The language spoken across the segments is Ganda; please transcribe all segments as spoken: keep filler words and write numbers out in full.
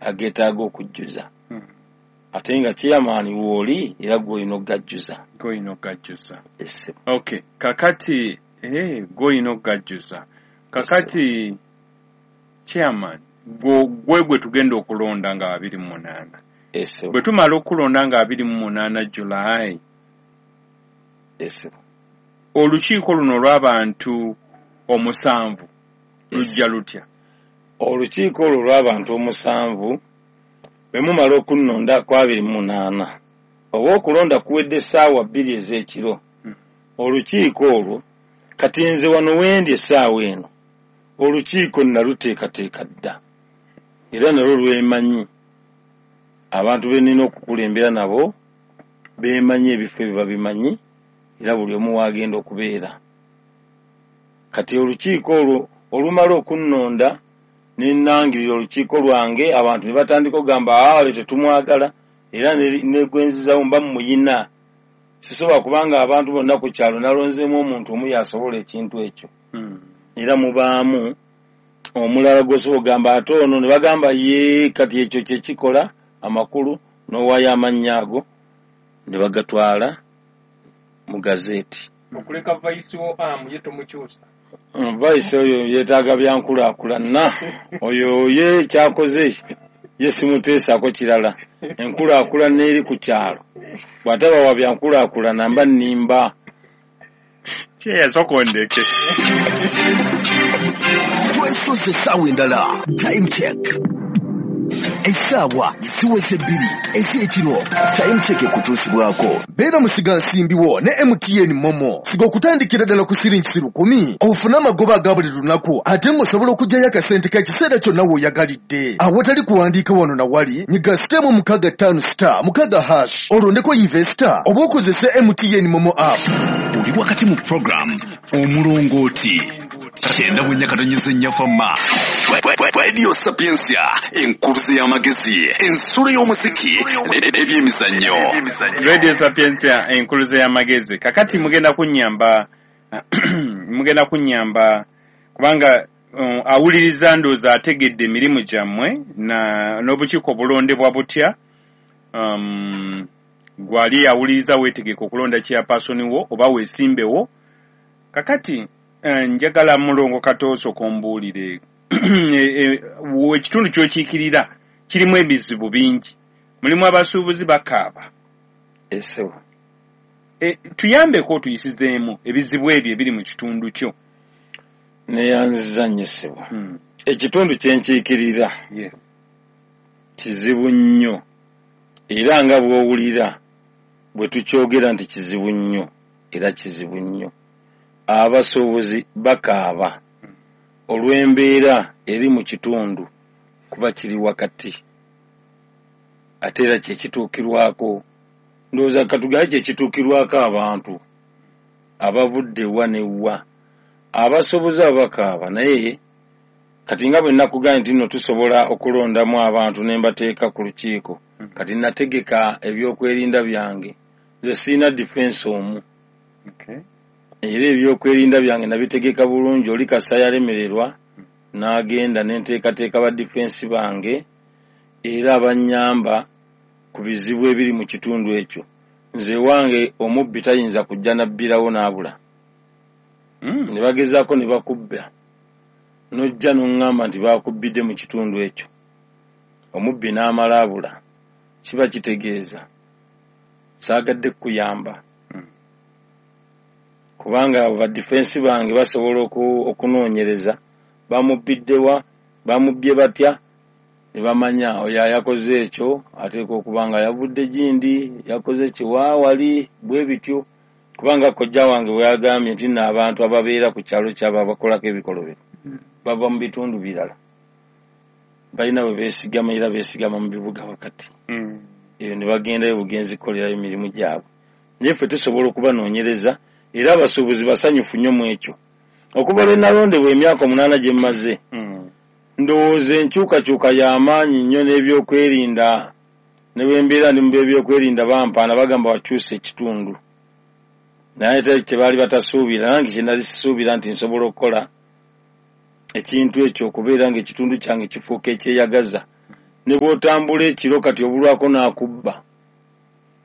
Ageetaaga okujjuza. Ate nga chairman wooli era gw'olina okugajjuza. Gw'olina okugajjuza. Yes. Okay, kakati eh gw'olina okugajjuza. Kakati chairman gwe gwe tugenda okulonda nga abiri mu munaana. Yes. Bwe tumala okulonda nga abiri mu munaana July. Yes. Olukiiko luno olw'abantu omusanvu lujja lutya? Olukiiko olwo olw'abantu omusanvu bwe mumala okunnonda ku abiri mu munaana oba okulonda kuwedde essaawa bbiri ez'ekiro, olukiiko olwo kati nze wano wendi essaawa eno olukiiko naluteekateeka dda era nalwo lwemanyi abantu be nnina okukulembera nabo beemanyi ebifo ebyo babimanyi era buli omu waagenda okubeera. Kati olukiiko olwo olumala okunnonda ne nnangirira olukiiko lwange abantu ne batandika okugamba aale tetumwagala era ne gwenzizawo mba muyina. Sisobola kubanga abantu bonna ku kyalo nalonzeemu omuntu omu y'asobola ekintu ekyo. Era mubaamu omulala gw'osobola okugamba ate ono ne bagamba ye kati ekyo kye kikola amakulu n'owaayo amannya ago ne bagatwala mu gazeeti. Okuleka vice wo amu ye tomukyusa. Vice oyo yeetaaga byankulaakulana. Oyo ye kyakoze ye simuteesaako kirala. Enkulaakulana eri ku kyalo. Bw'ataba wa byankulaakulana mba nnimba. Kye sokondeke. Twesoze essaawa endala. Time check. Essaawa ziweze bbiri ez'ekiro. Time check ekutuusibwako. Beera musigansimbi wo ne M T N Momo. Siga okutandikira ddala ku siringi lukumi ofune amagoba aga buli lunaku ate ng'osobola okuggyayo akasente k'ekiseera kyonna w'oyagalidde. Awatali kuwandiika wano na wali, nyiga sitemu mukaaga ttaano star mukaaga hash olondeko investor oba okozese M T N Momo app. Oli wakati mu program Omulongooti kyenda bwe nyakatonyeze nnyafama Radio Sapientia enkuluze y'amagezi ensulo y'omuziki n'ebyemizannyo. Radio Sapientia enkuluze y'amagezi. Kakati mugenda kunnyamba mugenda kunnyamba kubanga um, awuliriza ndowooza ategedde emirimu gyammwe na n'obukiiko obulondebwa butya. Um, gwali awuliriza weetegeka okulonda chairperson wo oba weesimbewo. Kakati njagala mulongo katooso kombuulire ekitundu ky'okiikirira kirimu ebizibu bingi, mulimu abasuubuzi bakaaba. Esewo e, tuyambeko tuyisizeemu ebizibu ebyo ebiri mu kitundu kyo. Neyanziza nnyo ssebo. Hmm. Ekitundu kye nkiikirira yes. kizibu nnyo era nga bw'owulira bwe tukyogera nti kizibu nnyo era kizibu nnyo. Abasuubuzi bakaaba olw'embeera eri mu kitundu kuba kiri wakati ate era kye kituukirwako ndowooza katugaye kye kituukirwako abantu abavudde wa ne wa. Abasuubuzi abo bakaaba naye kati nga bwe nakugambye nti nno tusobola okulondamu abantu ne mbateeka ku lukiiko, kati nategeka ebyokwerinda byange. Nze sirina defense omu. Okay. Era ebyokwerinda byange nabitegeka bulungi. Oli kasa yalemererwa n'agenda ne nteekateeka ba defense bange era abannyamba ku bizibu ebiri mu kitundu ekyo. Nze wange omubbi tayinza kujja nabbirawo n'abula. Mm. Ne bagezaako ne bakubba n'ojja n'oŋŋamba nti baakubbidde mu kitundu ekyo, omubbi n'amala abula, kiba kitegeeza saagadde kukuyamba. Kubanga abo ba defense bange basobola okunoonyereza bamubbiddewa, bamubbye batya, ne bamanya oyo yakoze ekyo ateekwa okuba nga yavudde gindi, yakoze kiwaawali bwe bityo. Kubanga kojja wange bwe yagambye nti nno abantu ababeera ku kyalo kyabwe abakolako ebikolobero bava mu bitundu birala, balina bwe beesigama era beesigama mu bibuga wakati eyo ne bagendayo bugenzi kukolerayo emirimu gyabwe. Naye ffe tusobola okubanoonyereza era abasuubuzi basanyufu nnyo mu ekyo. Okuva lwe nalondebwa emyaka omunaana gye mmaze, ndowooza enkyukakyuka y'amaanyi nnyo n'ebyokwerinda ne bwe mbeera ndi mu by'ebyokwerinda bampaana bagamba wakyusa ekitundu. Naye tebaali batasuubira, nange kye nali sisuubira nti nsobola okukola ekintu ekyo okubeera ng'ekitundu kyange kifuuka ekyeyagaza. Ne bw'otambula ekiro kati obulwako n'akubba,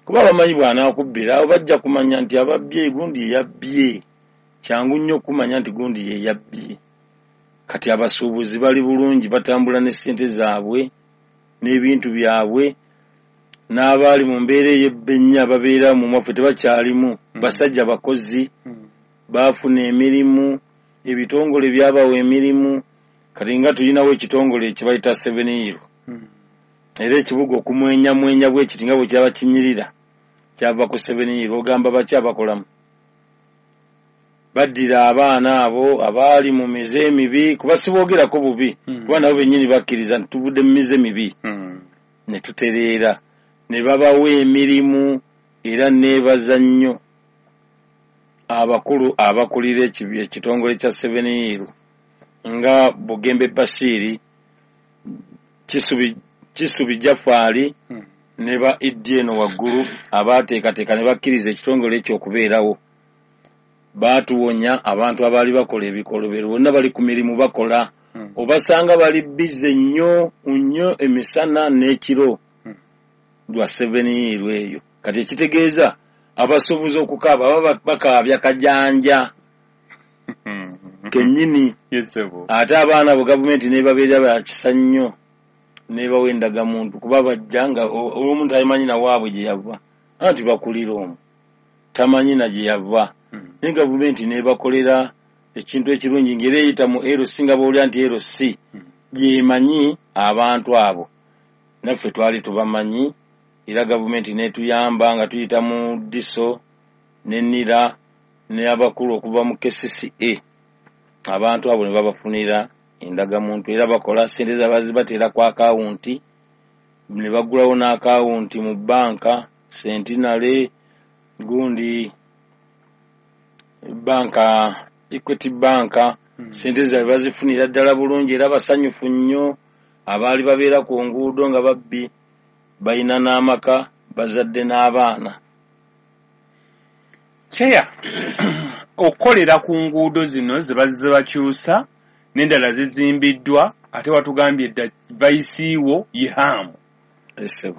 kuba bamanyi bw'anaakubbira awo bajja kumanya nti ababbye gundi ye yabbye. Kyangu nnyo okumanya nti gundi ye yabbye. Kati abasuubuzi bali bulungi, batambula ne ssente zaabwe n'ebintu byabwe, n'abaali mu mbeera ey'ebbennya ababeera mu mwaffe tebakyalimu. Basajja bakozi, baafuna emirimu, ebitongole byabawa emirimu. Kati nga tulinawo ekitongole ekibayita Seven Hill, era ekibuga okumwenyamwenya bwe kiti nga bwe kyaba kinyirira kyava ku Seven Hill. Ogamba baki abakolamu? Baddira abaana abo abaali mu mize emibi, kuba siboogerako bubi, kuba nabo bennyini bakkiriza nti tuvudde mu mize mibi ne tutereera, ne babawa emirimu. Era neebaza nnyo abakulu abakulira ekitongole kya Seven Hill nga Bugembe Bashiri, Kisubi, Kisubi Jafaali ne ba Iddi eno waggulu abaateekateeka ne bakkiriza ekitongole ekyo okubeerawo. Baatuwonya abantu abaali bakola ebikolobero, bonna bali ku mirimu bakola, obasanga bali bize nnyo nnyo emisana n'ekiro lwa Seven Hill eyo. Kati ekitegeeza abasuubuzi okukaaba baba bakaabya kajanja kennyini. Ate abaana abo gavumenti n'ebabeera bakisa nnyo, n'ebawa endagamuntu, kuba bajja nga omuntu tamanyi na waabwe gye yava, anti bakulira omwo tamanyi na gye yava. Naye gavumenti n'ebakolera ekintu ekirungi ng'era eyita mu L C, nga bw'olya nti L C gyemanyi abantu abo, naffe twali tubamanyi. Era gavumenti n'etuyamba nga tuyita mu DISO ne NIRA ne abakulu okuva mu K C C A, abantu abo ne babafunira endagamuntu. Era bakola ssente zaabwe bateera ku akawunti, ne baggulawo n'akawunti mu bbanka Centenary, gundi banka Equity Bank. Ssente zaabwe bazifunira ddala bulungi era basanyufu nnyo. Abaali babeera ku nguudo nga babbi balina n'amaka, bazadde n'abaana. Kyeya okukolera ku nguudo zino ze bazze bakyusa n'endala zizimbiddwa, ate watugambye dda vayisiiwo ye Haamu.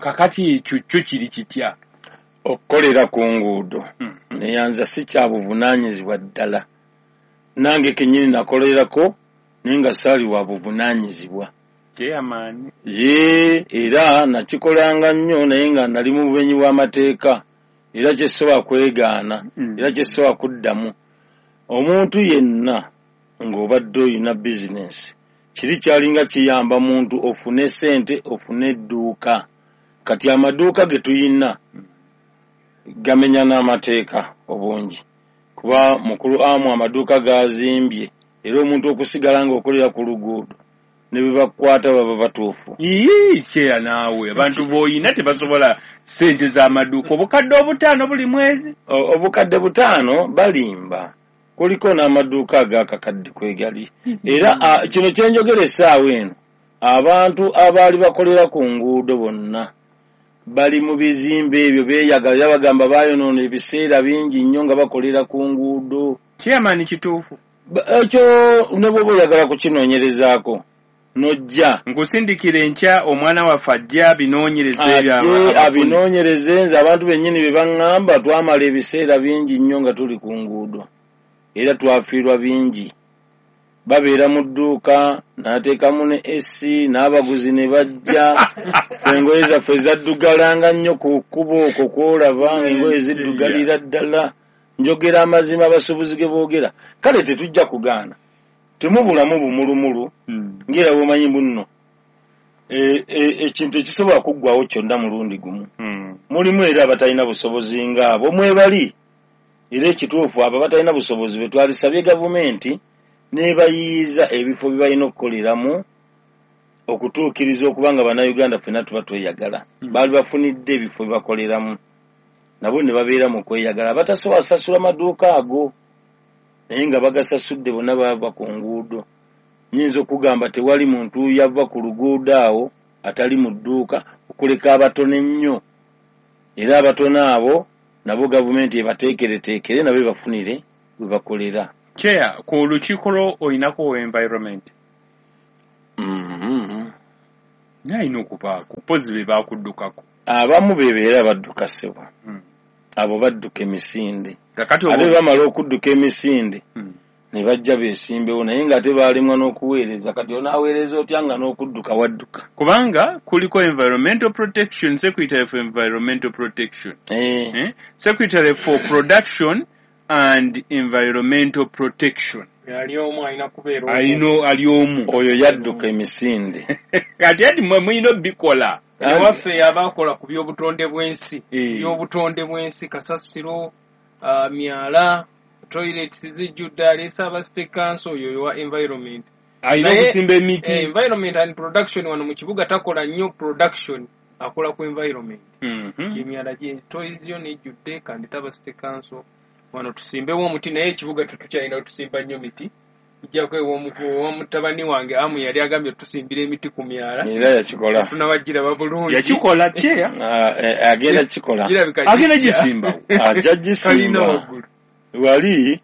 Kakati ekyo kyo kiri kitya? Okukolera ku nguudo neyanza si kya buvunaanyizibwa ddala. Nange kennyini nakolerako naye nga saali wa buvunaanyizibwa. Chairman. Ye era nakikolanga nnyo naye nga nali mu bumenyi bw'amateeka, era kye sobola kwegaana, era kye sobola kuddamu. Omuntu yenna ng'obadde oyina bizinensi, kiri kyalinga kiyamba muntu ofune ssente, ofune edduuka. Kati amaduuka ge tuyina gamenya n'amateeka obungi, kuba mukulu amu amaduuka gazimbye, era omuntu okusigala ng'okolera ku luguudo ne bwe bakukwata baba batuufu. Ii kyeya naawe abantu b'oyina tebasobola ssente z'amaduuka obukadde obutaano buli mwezi. Obukadde butaano balimba, kuliko n'amaduuka ag'akakadde kwegali. Era kino kye njogera essaawa eno, abantu abaali bakolera ku nguudo bonna bali mu bizimbe ebyo beeyagala, era bagamba baayonoona ebiseera bingi nnyo nga bakolera ku nguudo. Chairman kituufu ekyo ne bw'oba oyagala kukinoonyerezaako nojja nkusindikira enkya omwana waffe ajja abinoonyereze ebyo abinoonyereze. Nze abantu bennyini be baŋŋamba twamala ebiseera bingi nnyo nga tuli ku nguudo, era twafiirwa bingi. Babeera mu dduuka n'ateekamu ne A C n'abaguzi ne bajja. Engoye zaffe zaddugalanga nnyo ku kkubo okwo kw'olaba ng'engoye ziddugalira ddala. Njogera amazima abasuubuzi ge boogera. Kale tetujja kugaana, temubulamu bumulumulu ng'era bw'omanyi bunno ekintu ekisobola kuggwawo kyonna mulundi gumu. Mulimu era abatalina busobozi ng'abo mwebali, era ekituufu abo abatalina busobozi be twalisabye gavumenti n'ebayiiza ebifo bye balina okukoleramu okutuukiriza okuba nga Bannayuganda ffenna tuba tweyagala. Baali bafunidde ebifo bye bakoleramu nabo ne babeera mu kweyagala. Abatasobola kusasula maduuka ago naye nga bagasasudde bonna bava ku nguudo. Nnyinza okugamba tewali muntu yava ku luguudo awo atali mu dduuka okuleka abatono ennyo, era abatono abo nabo gavumenti ebateekereteekere nabo ebafunire we bakolera. Chair, ku lukiiko lwo olinako environment? Mm-hmm. Alina okubaako pozi be bakuddukako. Abamu bebeera badduka ssebo. Mm. Abo badduka emisinde. Kakati Ate bamala okudduka emisinde Mm. ne bajja beesimbewo, naye ng'ate baalemwa n'okuweereza. Kati onaaweereza otya nga n'okudduka wadduka? Kubanga kuliko environmental protection, secretary for environmental protection. Eh. Eh? Secretary for production and environmental protection. Ali omu alina kubeera omu. Alino ali omu. Oyo yadduka emisinde. Kati ati mwe mulina obikola. Ewaffe abakola ku by'obutonde bw'ensi. Eh. By'obutonde bw'ensi, kasasiro, uh, myala, toilets zijjudde, aleese aba state council, oyo wa environment. Alina Naye, okusimba emiti. Eh, environment and production wano mu kibuga takola nnyo production, akola ku environment. Mhm. Emyala gye toilets yo nejjudde, kandi taba state council. Wano tusimbewo omuti, naye ekibuga tetukyalina tusimba nnyo miti. Ojjako ew'omutabani wange Amu yali agambye tusimbira emiti ku myala. Era yakikola. Tunabagiraba bulungi. Yakikola kyeya. Ah, eh, agenda kikola. Kirabika Agenda gijja. gisimbawo. Ajja Kalina gisimba. waggulu. Wali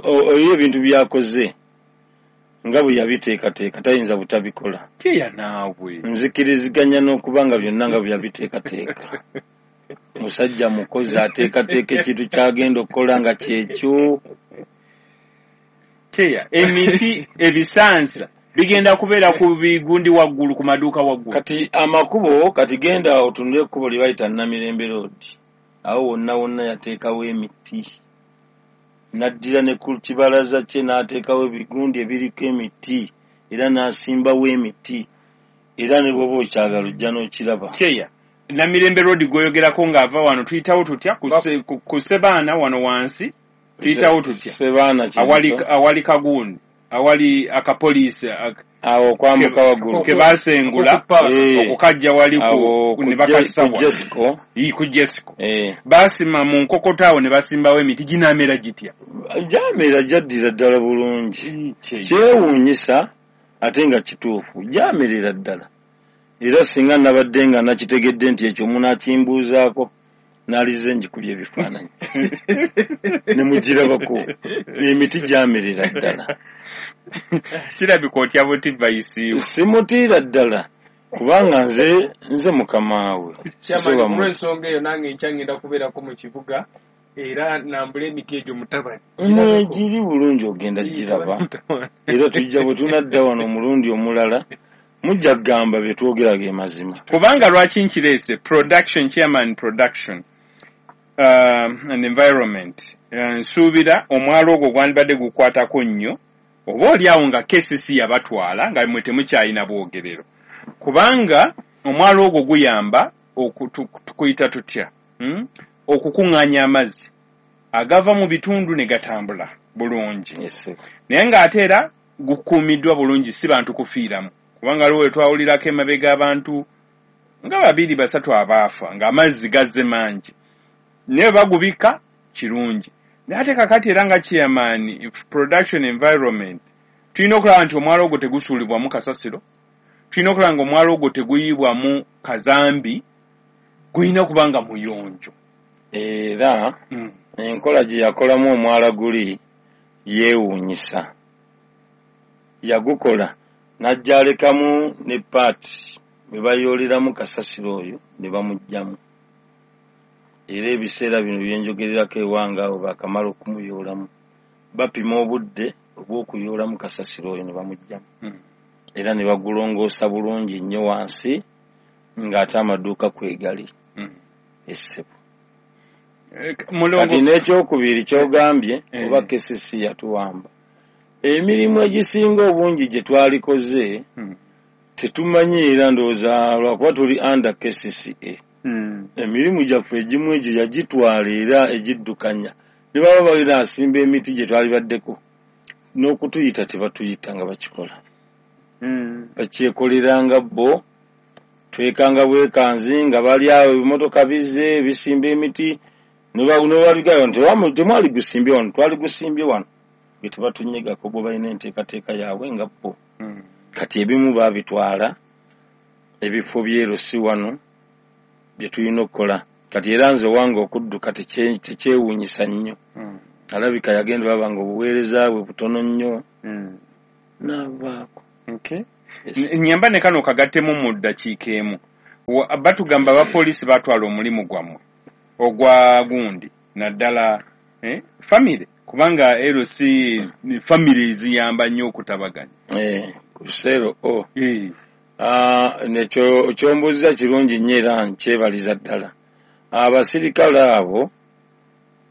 oyo ebintu byakoze nga bwe yabiteekateeka tayinza butabikola. Kyeya naawe. Nzikiriziganya n'okuba nga byonna nga bwe yabiteekateeka. Musajja mukozi ateekateeka ekintu ky'agenda okukola nga kyekyo. Kyeya emiti ebisansa bigenda kubeera ku bigundi waggulu, ku maduuka waggulu. Kati amakubo, kati genda otunule ekkubo lye bayita Namirembe Road. Awo wonna wonna yateekawo emiti. N'addira ne ku kibalaza kye n'ateekawo ebigundi ebiriko emiti, era n'asimbawo emiti. Era ne bw'oba okyagala ojja n'okiraba. Kyeya Namirembe Road gw'oyogerako ng'ava wano tuyitawo tutya? Ku se-, ku, ku Sebaana wano wansi tuyitawo tutya? Sebaana Kizito. Awali, awali kagundi, awali akapoliisi, ak-, Awo okwambuka ke- waggulu. ke baasengula, Eh. okukajja wali ku, Awo ku ne bakassa Je-, ku wano. Jesco. Ii, ku Jesco. Eh. Baasima mu nkokota awo ne basimbawo emiti, ginaamera gitya? Gyamera gyaddira ddala bulungi. Kye- Kyewuunyisa ate nga kituufu, gyamerera ddala. Era singa nabadde nga nakitegedde nti ekyo munaakimbuuzaako, naalize ngikubye ebifaananyi. Ne mugirabako. Emiti gyamerera ddala. Kirabika otya buti bayisiiwe? Simutiira ddala, kubanga nze, nze mukamaawe. Chairman, Sisoba mu- olw'ensonga eyo nange nkya ngenda kubeerako mu kibuga, era nambula emiti egyo mutabani. Mwegiri bulungi ogenda giraba. Mutabani. Era tujja bwe tunadda wano omulundi omulala, mujja kugamba bye twogera ge mazima. Kubanga lwaki nkireese production chairman production, um, and environment. Uh, nsuubira omwalo ogwo gwandibadde gukwatako nnyo, oba oli awo nga K C C yabatwala nga mmwe temukyalina bwogerero. Kubanga omwalo ogwo guyamba okutu-, tukuyita tutya? Hmm? Okukuŋŋaanya amazzi agava mu bitundu ne gatambula bulungi. Yes. Naye ng'ate era gukuumiddwa bulungi, si bantu kufiiramu. Kubanga waliwo we twawulirako emabega abantu nga babiri basatu abaafa ng'amazzi gazze mangi. Naye bagubika kirungi. Naye ate kakati era nga chairman production environment, tulina okulaba nti omwalo ogwo tegusuulibwamu kasasiro, tulina okulaba nga omwalo ogwo teguyibwamu kazambi, gulina kuba nga muyonjo. Era Mm. enkola gye yakolamu omwala guli yeewuunyisa. Yagukola n'ajja alekamu ne paati bwe bayooleramu kasasiro oyo ne bamuggyamu. Era ebiseera bino bye njogererako ewange awo baakamala okumuyoolamu, bapima obudde obw'okuyoolamu kasasiro oyo ne bamuggyamu. Mm. Era ne bagulongoosa bulungi nnyo wansi ng'ate amaduuka kwegali. Mm. Essebo. Eh, mulongo- Kati n'ekyokubiri ky'ogambye, Eh. oba K C C yatuwamba. Emirimu egisinga obungi gye twalikoze, Mm. tetumanyi era ndowooza lwakuba tuli under K C C A. Mm. Emirimu gyaffe egimu egyo yagitwala era egiddukanya. Ne baba balina asimba emiti gye twalibaddeko, n'okutuyita tebatuyita nga bakikola. Mm. Bakyekoleranga bo, twekanga bwekanzi nga bali awo ebimotoka bizze bisimba emiti, ne ba-, ne babigayo nti temwali, temwali gusimbye wano, twali gusimbye wano. Bwe tebatunyegako bo balina enteekateeka yaabwe nga bo. Mm. Kati ebimu baabitwala, ebifo byerusi wano bye tulina okukola. Kati era nze owange okudduka tekye-, tekyewuunyisa nnyo. Mm. Alabika yagenda baba nga obuweereza bwe butono nnyo. Mm. N'avaako. Okay. Nyamba ne kano kagattemu mu ddakiika emu. Batugamba abapoliisi batwala omulimu gwammwe ogwa gundi naddala eh, famire, kubanga L C famire ziyamba nnyo okutabaganya. Eh, ku seero o. Eh. Ah, nekyo kyombuuza kirungi nnyo era nkyebaliza ddala. Abasirikale abo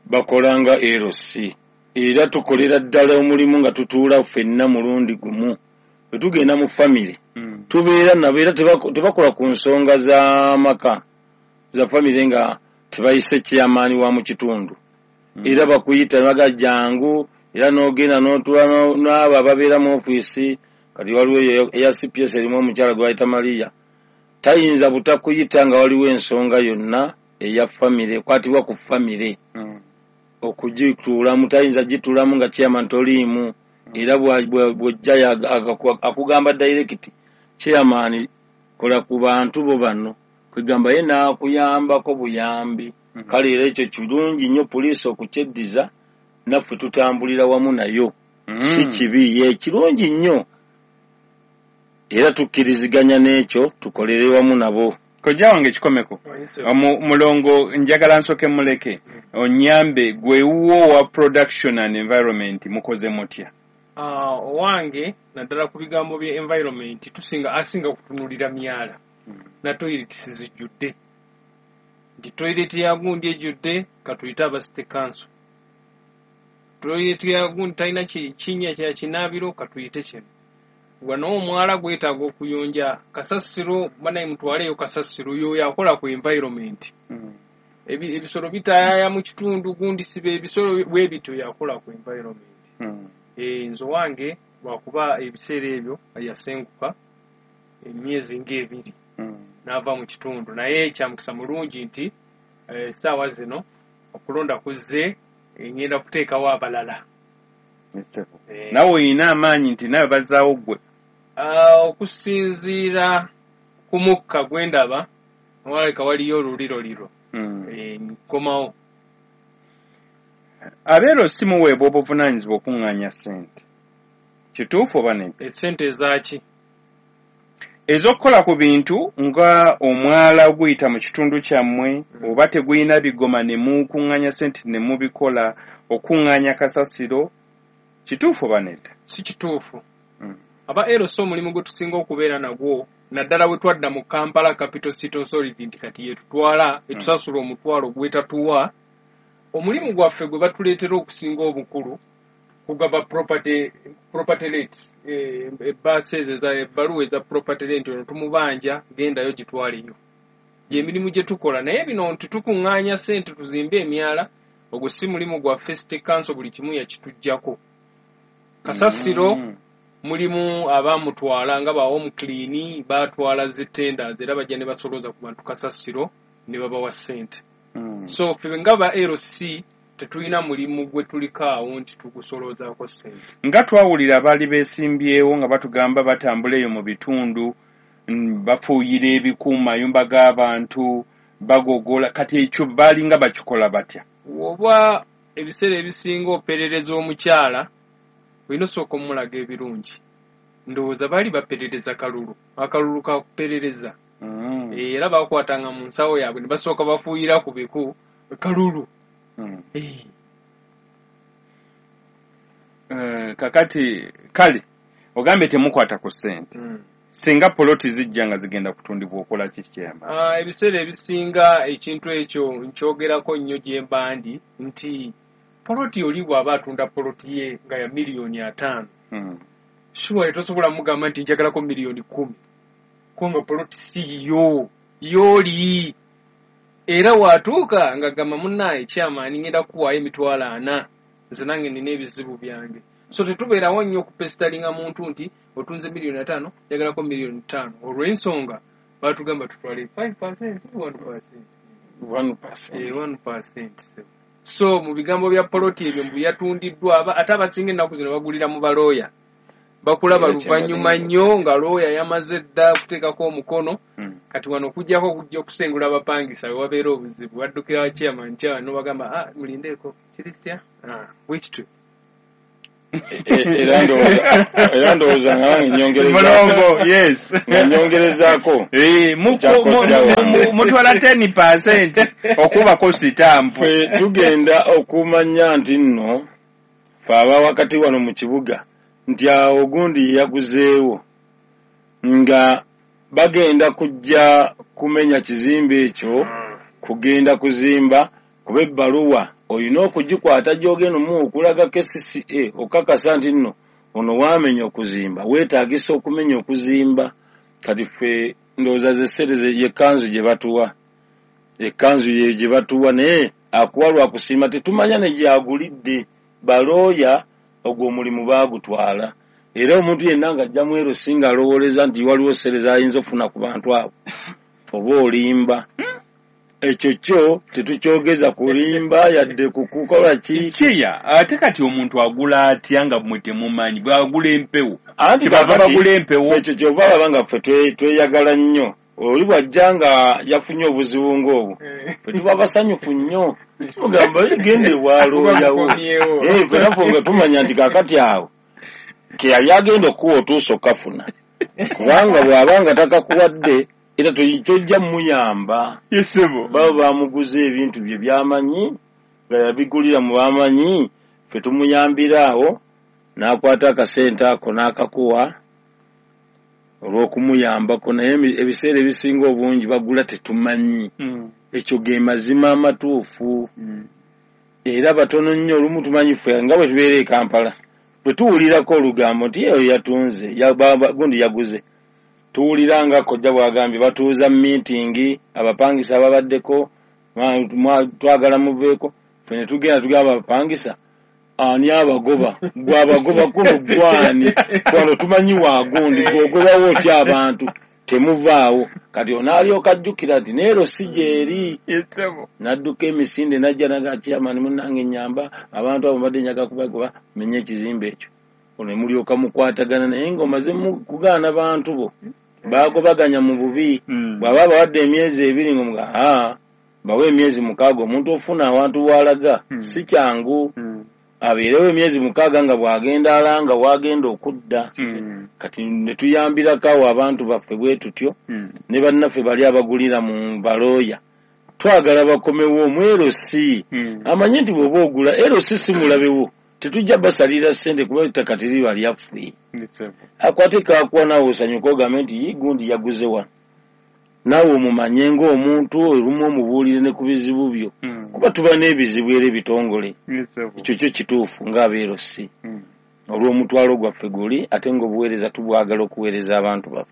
bakola nga L C era tukolera ddala omulimu nga tutuula ffenna mulundi gumu. Bwe tugenda mu famire mm. tubeera nabo era tebakola ku nsonga z'amaka za famire nga tebayise chairman wa mu kitundu. Mm. Era bakuyita ne bagamba jangu, era n'ogenda n'otuula n'abo ababeera mu ofiisi. Kati waliwo eya C P S erimu omukyala gwe bayita Maria, tayinza butakuyita nga waliwo ensonga yonna eya famire ekwatibwa ku famire mm. okugituulamu, tayinza gituulamu nga chairman toliimu. Era bw'ojja akugamba direct, chairman kola ku bantu bo bano, kwegamba ye n'akuyambako buyambi. Kale era ekyo kirungi nnyo poliisi okukyeddiza, naffe tutambulira wamu nayo. Si kibi, ye kirungi nnyo era tukkiriziganya n'ekyo, tukolere wamu nabo. Kojja wange kikomeko mulongo, njagala nsooke muleke onyambe gwe wuwo wa production and environment mukoze mutya? Owange naddala ku bigambo bya environment tusinga asinga kutunulira myala na toilets zijjudde, nti toilet ya gundi ejjudde katuyite aba city council, toilet ya gundi talina kinnya kya kinaabiro katuyite kino, wano omwala gwetaaga okuyonja kasasiro, banaye mutwaleyo kasasiro yoyo akola ku environment. Ebisolo bitaayaya mu kitundu gundi sibe ebisolo bwe bityo yakola ku environment. Eh, nze wange lwakuba ebiseera ebyo yasenguka emyezi ng'ebiri n'ava mu kitundu, naye kyamukisa mulungi nti essaawa zino okulonda kuzze, ngenda kuteekawo abalala. Nawe oyina amaanyi nti nawe bazzaawo ggwe? Okusinziira ku mukka gwe ndaba walabika waliyo oluliroliro, nkomawo. Abeero si muweebwa obuvunaanyizibwa okuŋŋaanya ssente, kituufu oba nedda? Essente ezaaki? Ez'okukola ku bintu nga omwala oguyita mu kitundu kyammwe oba tegulina bigoma ne mukuŋŋaanya ssente ne mubikola, okuŋŋaanya kasasiro, kituufu oba nedda? Si kituufu. Aba L C omulimu gwe tusinga okubeera nagwo naddala bwe twadda mu Kampala Capital City Authority nti kati yetutwala etusasula omutwalo gwetatuwa, omulimu gwaffe gwe batuleetera okusinga obukulu kugaba property property rates, ebbaasa ezo ebbaluwa eza property rent ono tumubanja gendayo gitwaleyo. Gy'emirimu gye tukola, naye bino nti tukuŋŋaanya ssente tuzimbe emyala, ogwo si mulimu gwaffe. City Council buli kimu yakituggyako. Kasasiro mulimu abamutwala nga ba home clean batwala zi tenders era bajja ne basolooza ku bantu kasasiro ne babawa ssente. So ffe nga ba L C tetulina mulimu gwe tuliko awo nti tugusoloozaako ssente. Nga twawulira abaali beesimbyewo nga batugamba batambula eyo mu bitundu, bafuuyira ebiku mu mayumba g'abantu, bagogola, kati ekyo baalinga bakikola batya? Oba ebiseera ebisinga operereza omukyala olina osooka omulaga ebirungi. Ndowooza baali baperereza kalulu, akalulu kakuperereza. Era bakwatanga mu nsawo yaabwe ne basooka bafuuyira ku biku kalulu. Kakati kale ogambye temukwata ku ssente, singa poloti zijja nga zigenda kutundibwa okola ki kyeyamba? Ebiseera ebisinga ekintu ekyo nkyogerako nnyo gye mba ndi nti poloti oli bw'aba atunda poloti ye nga ya miliyoni ataano, sure tosobola mugamba nti njagalako miliyoni kkumi, kubanga poloti si yiyo yooli. Era watuuka nga gamba munnaaye chairman ngenda kukuwaayo emitwalo ana, nze nange nina ebizibu byange. So tetubeerawo nnyo okupesitalinga muntu nti otunze miliyoni ataano njagalako miliyoni ttaano, olw'ensonga baatugamba tutwale five percent, one percent. one percent. one percent. So mu bigambo bya poloti ebyo mbu yatundiddwa, ate abasinga ennaku zino bagulira mu balooya, bakulaba luvannyuma nnyo nga looya yamaze dda okuteekako omukono. Kati wano okuggyako okujja okusengula abapangisa we wabeera obuzibu, baddukira wa chairman, chairman n'obagamba ah, mulindeeko kirisya bwe kityo. Era ndowooza nga nange nyongerezaako mutwala ten percent okubako sitampu. Ffe tugenda okumanya nti nno fe aba wakati wano mu kibuga nti awo gundi yaguzeewo nga bagenda kujja kumenya kizimbe ekyo kugenda kuzimba kuba ebbaluwa olina okugikwata gy'ogenda omuwa okulaga K C C A okakasa nti nno ono waamenya okuzimba weetaagisa okumenya okuzimba. Kati ffe ndowooza ze ssente y'ekkanzu gye batuwa ekkanzu ye gye batuwa naye akuwa lwa kusiima tetumanya ne gy'agulidde. Balooya ogwo omulimu baagutwala era omuntu yenna ng'ajja mu L C ng'alowooleza nti waliwo ssente z'ayinza okufuna ku bantu abo oba olimba. Ekyo kyo tetukyogeza kulimba yadde kukukola ki kiya. Ate kati omuntu agula atya nga mmwe temumanyi bw'agula empewo anti kyebava bagula empewo ekyo kyova baba nga ffe tweyagala nnyo oli bw'ajja nga yafunye obuzibu ng'obwo ffe tuba basanyufu nnyo tugamba genda ewalooyawo ffe naffe nga tumanya nti kaakati awo ke yali agenda okuwa otuuse okafuna kubanga bw'aba nga takakuwadde era tojja muyamba. Baba bamuguza ebintu bye byamanyi nga yabigulira mu bamanyi ffe tumuyambira awo n'akwata akasente ako n'akakuwa olw'okumuyambako naye ebiseera ebisinga obungi bagula tetumanyi. Ekyo ge mazima amatuufu era batono nnyo olumu tumanyi ffe nga bwe tubeera e Kampala bwe tuwulirako olugambo nti eyo yatunze gundi yaguze tuwulira nga kojja bw'agambye batuuza meeting abapangisa ababaddeko twagala muveeko ffe ne tugenda tugamba abapangisa ani abagoba gwe abagoba kuno gwani wano tumanyi waagundi gweogobawo otya abantu temuvaawo. Kati onaalyoka ajjukira nti neero si gyeri n'adduka emisinde n'ajja naga chairman munnange nnyamba abantu abo mbadde njaga kubagoba menye ekizimbe ekyo ono ne mulyoka mukwatagana naye ng'omaze kugaana bantu bo baagobaganya mu bubi. Bw'aba abawadde emyezi ebiri ng'omuga aa bawe emyezi mukaaga omuntu ofuna awantu w'alaga si kyangu abeerewo emyezi mukaaga nga bw'agenda alanga w'agenda okudda. Kati ne tuyambirako awo abantu baffe bwe tutyo ne bannaffe bali abagulira mu balooya twagala bakomewo mu L C amanye nti bw'oba ogula L C si mulabewo tetujja basalira ssente kuba ettaka teriba lyaffe akwate kakuwa naawe osanyuka ogambe nti gundi yaguze wano naawe omumanye ng'omuntu olumu omubuulire ne ku bizibu byo kuba tuba n'ebizibu era ebitongole ekyo kyo kituufu ng'abeero si olw'omutwalo gwaffe guli ate ng'obuweereza tubwagala okuweereza abantu baffe.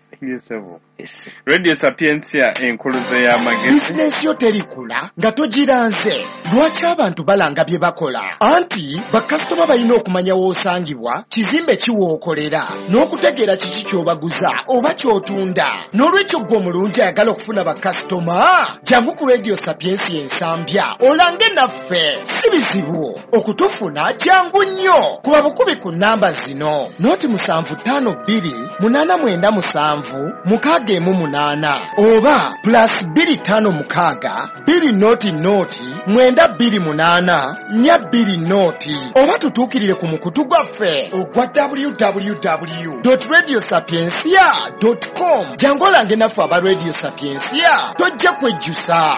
Radio Sapientia enkuluze y'amagezi. Bizinensi yo terikula nga togiranze. Lwaki abantu balanga bye bakola? Anti bakasitoma balina okumanya w'osangibwa, kizimbe ki w'okolera, n'okutegeera kiki ky'obaguza oba ky'otunda. N'olwekyo ggwe omulungi ayagala okufuna bakasitoma, jangu ku Radio Sapientia Ensambya olange naffe. Si bizibu okutufuna, jangu nnyo. Kuba bukubi ku namba zino: noti musanvu ttaano bbiri munaana mwenda musanvu mukaaga emu munaana oba plus bbiri ttaano mukaaga bbiri noti noti mwenda bbiri munaana nnya bbiri noti oba tutuukirire ku mukutu gwaffe ogwa w w w dot radio sapientia dot com. Jangu olange naffe aba Radio Sapientia, tojja kwejjusa.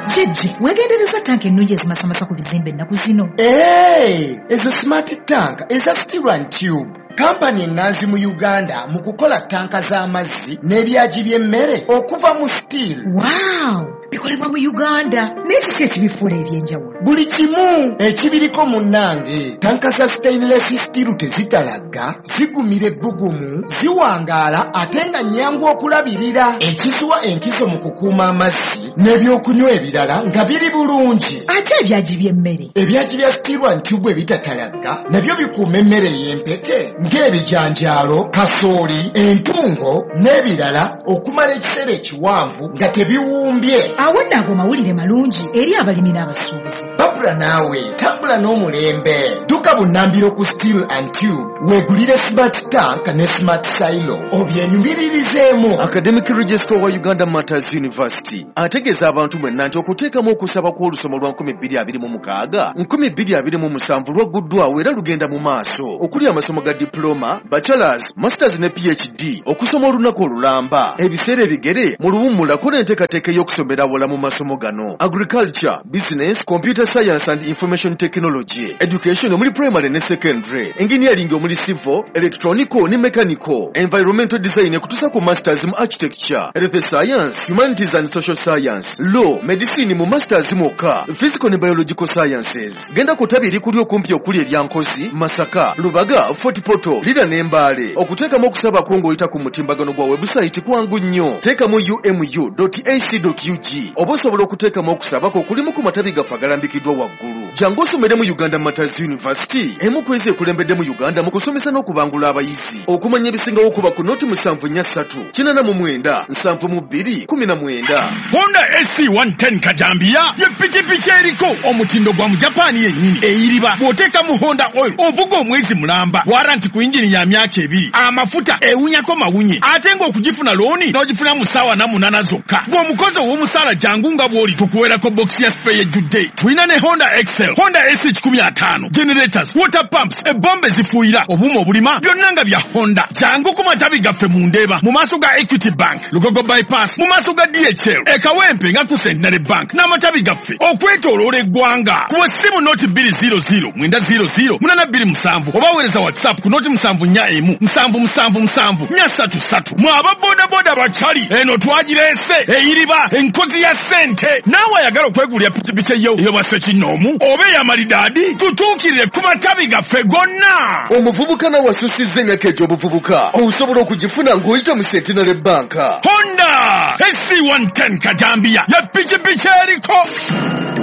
Jjajja, weegendereza tanka ennungi ezimasamasa ku bizimbe ennaku zino. Ee, ezo smart tank eza steel and tube. Kampani eŋŋanzi mu Uganda mu kukola tanka z'amazzi n'ebyagi by'emmere okuva mu steel. Wow! Bikolebwa mu Uganda. Naye kiki ekibifuula eby'enjawulo? Buli kimu ekibiriko munnange. Tanka za stainless steel tezitalagga, zigumira ebbugumu, ziwangaala ate nga nnyangu okulabirira. Ekiziwa enkizo mu kukuuma amazzi n'ebyokunywa ebirala nga biri bulungi. Ate ebyagi by'emmere? Ebyagi bya steel and tube ebitatalagga nabyo bikuuma emmere ey'empeke ng'ebijanjaalo, kasooli, entungo n'ebirala okumala ekiseera ekiwanvu nga tebiwumbye. Awo nno ago mawulire malungi eri abalimi n'abasuubuzi. Babula naawe tambula Tambula n'omulembe. Dduka bunnambiro ku Steel and Tube, weegulire smart tank ne smart silo obyenyumiririzeemu. Academic Registrar wa Uganda Martyrs University ategeeza abantu mwenna nti okuteekamu okusaba kw'olusoma lwa nkumi bbiri abiri mu mukaaga nkumi bbiri abiri mu musanvu lwagguddwawo era lugenda mu maaso, okuli amasomo ga diploma, bachelors, masters ne P H D, okusoma olunaku olulamba, ebiseera ebigere, mu luwummulako n'enteekateeka ey'okusomera awala mu masomo gano: agriculture, business, computer science and information technology, education omuli primary ne secondary, engineering omuli civil, electronical ne mechanical, environmental design ekutuusa ku masters mu architecture, health science, humanities and social science, law, medicine mu masters mwokka, physical ne biological sciences. Genda ku ttabi erikuli okumpi okuli erya Nkozi, Masaka, Lubaga, Fort Portal, Lira ne Mbale. Okuteekamu okusaba kwo ng'oyita ku mutimbagano gwa webusayiti kwangu nnyo. Teekamu umu dot ac dot ug oba osobola okuteekamu okusaba kwo kulimu ku matabi gaffe agalambikiddwa waggulu. Jangu osomere mu Uganda Martyrs University, emu ku ezo ekulembedde mu Uganda mu kusomesa n'okubangula abayizi. Okumanya ebisingawo, kuba ku noti musanvu nnya ssatu kinaana mu mwenda nsanvu mu bbiri kumi na mwenda. Honda S C one ten kajambiya ye pikipiki eriko omutindo gwa Mujapaani yennyini, eyiriba. Bw'oteekamu Honda oil ovuga omwezi mulamba, warranty ku yingini ya myaka ebiri, amafuta ewunyako mawunye, ate ng'okugifuna looni n'ogifuna mu ssaawa na munaana zokka. Bw'omukozi ow'omusaala, jangu nga bw'oli, tukuweerako bokisi ya spare ejjudde. Tulina ne Honda Excel, Honda S C kikumi ataano, generators, water pumps, ebombe zifuuyira, obuuma obulima, byonna nga bya Honda. Jangu ku matabi gaffe mu Ndeeba mu maaso ga Equity Bank, Lugogo Bypass mu maaso ga D H L, e Kawempe nga ku Centenary Bank, n'amatabi gaffe okwetooloola eggwanga. Kuba essimu noti bbiri zero zero mwenda zero zero munana bbiri musanvu oba weereza WhatsApp ku noti musanvu nnya emu musanvu musanvu musanvu nnya ssatu ssatu. Mwe aba bodaboda bakyali eno twagireese, eyiriba, enkozi ya ssente. Naawe ayagala okwegulira pikipiki eyo ey'obwa ssekinnoomu oba ey'amalidaadi, tutuukirire ku matabi gaffe gonna. Omuvubuka nawe asussizza emyaka egy'obuvubuka, osobola okugifuna ng'oyita mu Centenary Bank. Honda S C one ten kajambiya ya pikipiki eriko.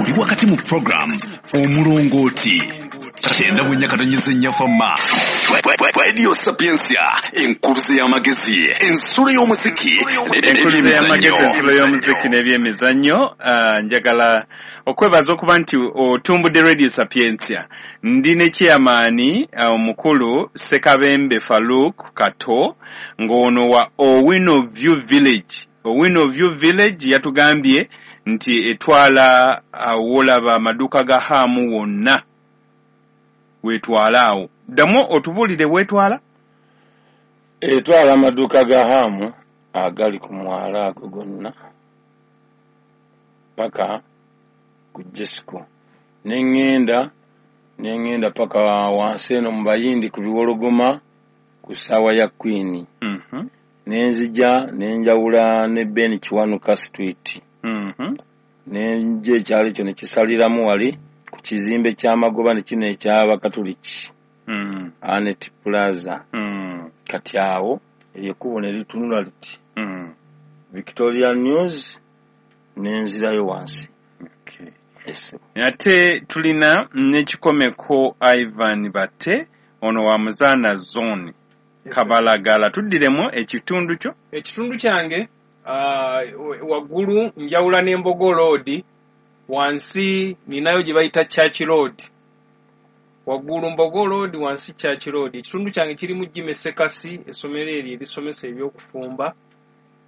Oli wakati mu program Omulongooti, kyenda mu nnya katonyeza ennya Fama Radio Sapiensia, enkuluze y'amagezi, ensulo y'omuziki. Enkuluze y'amagezi, ensulo y'omuziki n'ebyemizannyo. Ah, njagala okwebaza okuba nti otumbudde Radio Sapientia. Ndi ne chairman ah, omukulu Sekabembe Faruk Kato, ng'ono wa Owino View Village. Owino View Village yatugambye nti etwala wolaba amaduuka ga Haamu wonna weetwala awo. Ddamu otubuulire weetwala. Etwala amaduuka ga Haamu agali ku mwala ago gonna paka ku Jesco, neŋŋenda neŋŋenda paka wansi eno mu Bayindi ku Biwologoma ku ssaawa ya Queen. Mhm, Nenzija nenjawula ne Ben Kiwanuka Street, mhm. nenja ekyalo ekyo ne kisaliramu wali ku kizimbe ky'amagoba ne kino eky'Abakatuliki, Mm, Anet Plaza. mm, Kati awo eryo ekkubo ne litunula liti, mm. Victoria News, nenzirayo wansi. Okay. Ese. Ate tulina n'ekikomeko Ivan Bate, ono wa Muzaana Zone, Kabalagala. Tuddiremu ekitundu kyo. Ekitundu kyange, ah, waggulu njawula n'Embogo Road, wansi ninayo gye bayita Church Road. Waggulu Mbogo Road, wansi Church Road. Ekitundu kyange kirimu Jime Sekasi, essomero eryo erisomesa ebyokufumba,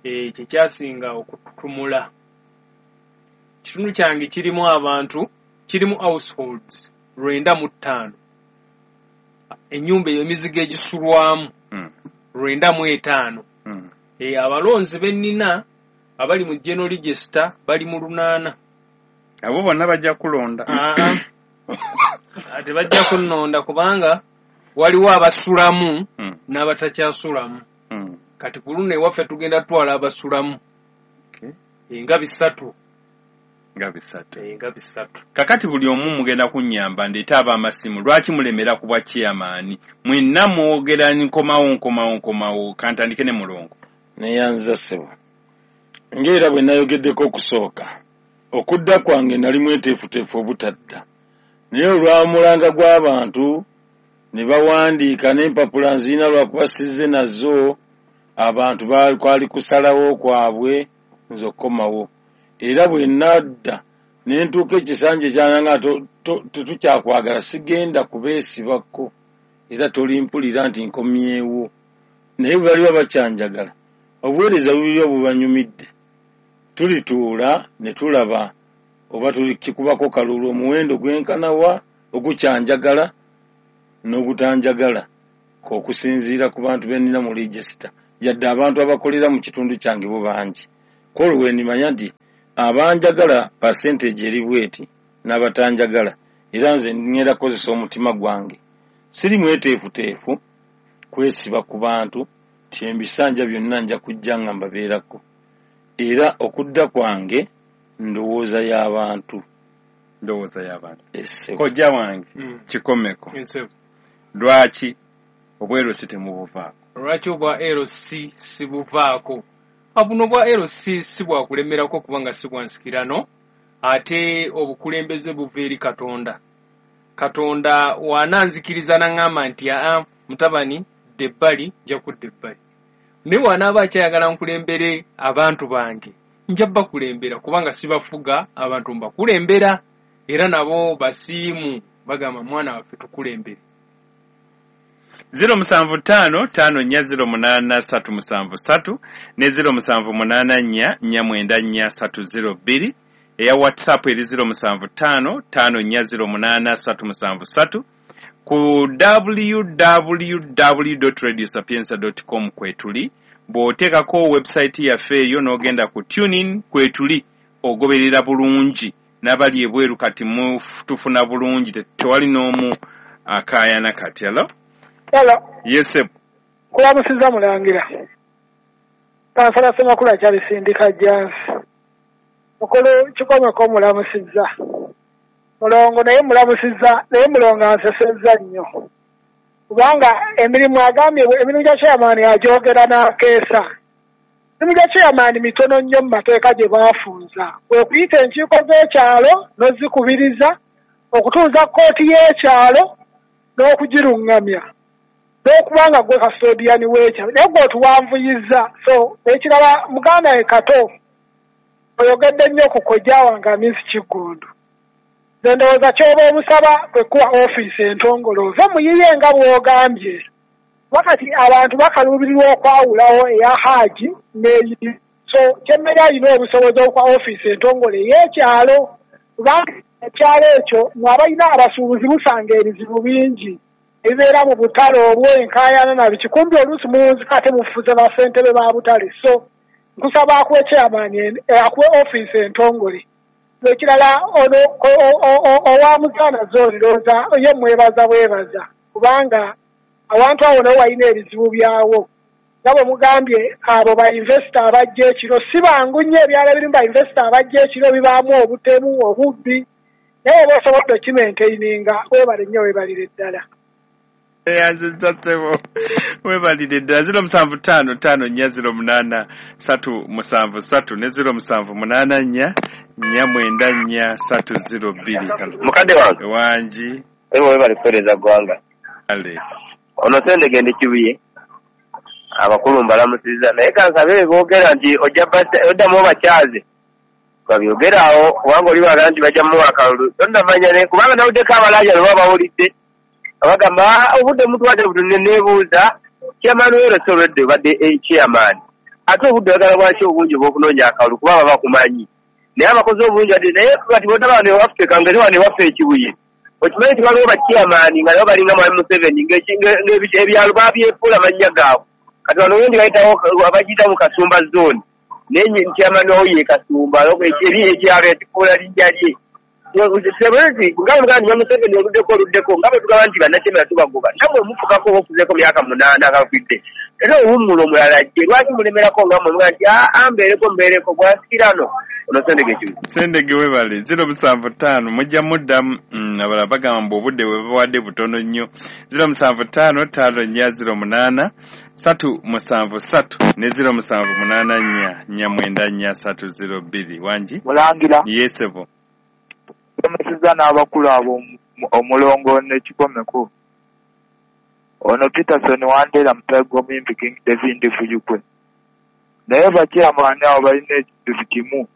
eh, kyekyasinga okututumula. Ekitundu kyange kirimu abantu, kirimu households lwenda mu ttaano, ennyumba eyo emizigo egisulwamu Mm, lwenda mu etaano. mm. E, abalonzi bennina abali mu general register bali mu lunaana. Abo bonna bajja kulonda? Aa, tebajja kunnonda kubanga waliwo abasulamu Mm, n'abatakyasulamu. mm. Kati ku luno ewaffe tugenda tutwala abasulamu. Okay. E, nga bisatu. Nga bisatu. E, nga bisatu. Kakati buli omu mugenda kunnyamba ndeete ab'amasimu. Lwaki mulemera ku bwa chairman? Mwenna mwogera nkomawo, nkomawo, nkomawo. Kantandike ne Mulongo. Neyanza ssebo. Ng'era bwe nayogeddeko okusooka, okudda kwange nali mweteefuteefu obutadda, naye olwamulanga gw'abantu ne bawandiika n'empapula nziina, lwakuba sizze nazo. Abantu kwali kusalawo kwabwe nze okukomawo, era bwe nadda Ne ntuuka ekisanja kyange nga tetukyakwagala, sigenda kubeesibako era tolimpulira nti nkomyewo. Naye bwe baliba bakyanjagala, obuweereza bubiri bubanyumidde, tulituula ne tulaba oba tulikikubako kalulu omuwendo gwenkanawa ogukyanjagala n'ogutanjagala okusinziira ku bantu be nnina mu register, yadde abantu abakolera mu kitundu kyange bo bangi. Kwolwo we nnimanya nti abanjagala percentage eri bweti n'abatanjagala, era nze ngenda kukozesa omutima gwange. Siri mweteefuteefu kwesiba ku bantu nti ebisanja byonna nja kujja nga mbabeerako, era okudda kwange ndowooza y'abantu. Ndowooza y'abantu. Kojja wange mm. Kikomeko. Lwaki obwa L C temubuvaako? Lwaki obwa L C sibuvaako? Buno bwa L C si bwakulemerako kubanga si bwa nsikirano, ate obukulembeze buva eri Katonda. Katonda wananzikiriza n'aŋŋamba nti aa mutabani dda ebbali, nja kudda ebbali. Naye wanaaba akyayagala nkulembere abantu bange, nja bakulembera kubanga sibafuga, abantu mbakulembera, era nabo basiimu bagamba mwana waffe tukulembere. zero musanvu ttaano ttaano nnya zero munaana ssatu musanvu ssatu ne zero musanvu munaana nnya nnya mwenda nnya ssatu zero bbiri. Eya WhatsApp eri zero musanvu ttaano ttaano nnya zero munaana ssatu musanvu ssatu. Ku w w w dot radio sapienza dot com kwetuli. Bw'oteekako website yaffe eyo n'ogenda ku TuneIn kwetuli, ogoberera bulungi n'abali ebweru kati tufuna bulungi, tewali n'omu akaayana kati. Hello? Hello. Yes, sir. Kulamusiza mulangira. Kansala Ssemakula kyalisindika Jansi. Mukulu Kikomeko mulamusizza. Mulongo naye mulamusizza, naye mulongo ansesezza nnyo. Kubanga emirimu agambye, emirimu gya chairman agyogera n'akeesa. Emirimu gya chairman mitono nnyo mu mateeka gye baafunza. Kwe kuyita enkiiko z'ekyalo n'ozikubiriza, okutuuza kkooti y'ekyalo n'okugiruŋŋamya, n'okubanga gwe custodian w'ekyalo. Naye gwe otuwanvuyizza. So ekirala muganda we Kato, oyogedde nnyo ku kojja wange Amisi Kiggundu. Nze ndowooza ky'oba omusaba kwe kuwa ofiisi entongole ove muyiye nga bw'ogambye. Wakati abantu bakaluubirirwa okwawulawo eya Haaji n'eyiye. So kyemmere alina obusobozi okuwa ofiisi entongole ey'ekyalo, kubanga ekyalo ekyo mwe abalina abasuubuzi musanga ebizibu bingi ebibeera mu butale obwo, enkaayana na biki. Kumbi oluusi muwunzika ate mufuze bassentebe ba butale. So nkusaba akuwe chairman akuwe ofiisi entongole. Ekirala ono owa Muzaana zooni ndowooza ye mwebaza bwebaza, kubanga awantu awo nawo walina ebizibu byawo. Nga bwe mugambye abo ba investor abajja ekiro si bangu nnyo, ebyalo ebirimu ba investor abajja ekiro bibaamu obutemu, obubbi, naye oba osobodde okimaintaininga. Weebale nnyo, weebalire ddala. Eyanzizza ssebo, weebalire ddala. zero musanvu ttaano ttaano nnya zero munaana ssatu musanvu ssatu ne zero musanvu munaana nnya nnya mwenda nnya ssatu zero bbiri. Mukadde wange wangi, ewe webale kuweereza ggwanga. Ale ono Sendege ndi Kibuye, abakulu mbalamusizza, naye kansabe boogera nti ojja oddamu obakyaze babyogera awo, kubanga oli baga nti bajja mmuwa akalulu tonnamanya, naye kubanga nawuddeko abalaaja lwe bawulidde abagamba obudde mutwadde butono. Neebuuza chairman w'L C olwedde obadde chairman, ate obudde oyagala bwaki obungi obw'okunoonya akalulu kuba baba bakumanyi, naye abakozi obungi ate naye kati bonna bano ewaffe kangere wano ewaffe e Kibuye okimanyi nti waliwo bachairman nga nabo balinga Mwami Museveni ng'ebyalo babyefuula mannya gaabwe. Kati wano wendi bayitawo abagiyita mu Kasumba zone, naye chairman wawo ye Kasumba, eri ekyalo yakifuula linnya lye. Sebezi nga mugamba nti Museveni oluddeko oluddeko nga bwe tugamba nti bannakyemera tubagoba, nammwe mufukako oba okuzeeko myaka munaana agafudde, era owummula omulala ajje. Lwaki mulemerako nga mmwe mugamba nti aa mbeereko mbeereko bwansikirano? Ono Sendege Kibuye. Sendege webale. zero musanvu ttaano mujja muddamu. Abalala bagamba mbu obudde bwe bawadde butono nnyo. zero musanvu ttaano ttaano nnya zero munaana ssatu musanvu ssatu ne zero musanvu munaana nnya nnya mwenda nnya ssatu zero bbiri. Wangi mulangira. Yesebo Tumusizza n'abakulu abo omulongo ne Kikomeko. Ono Peterson Wandera mutayi gw'omuyimbi King David Fujukwe. Naye bachairman abo balina ekintu kimu.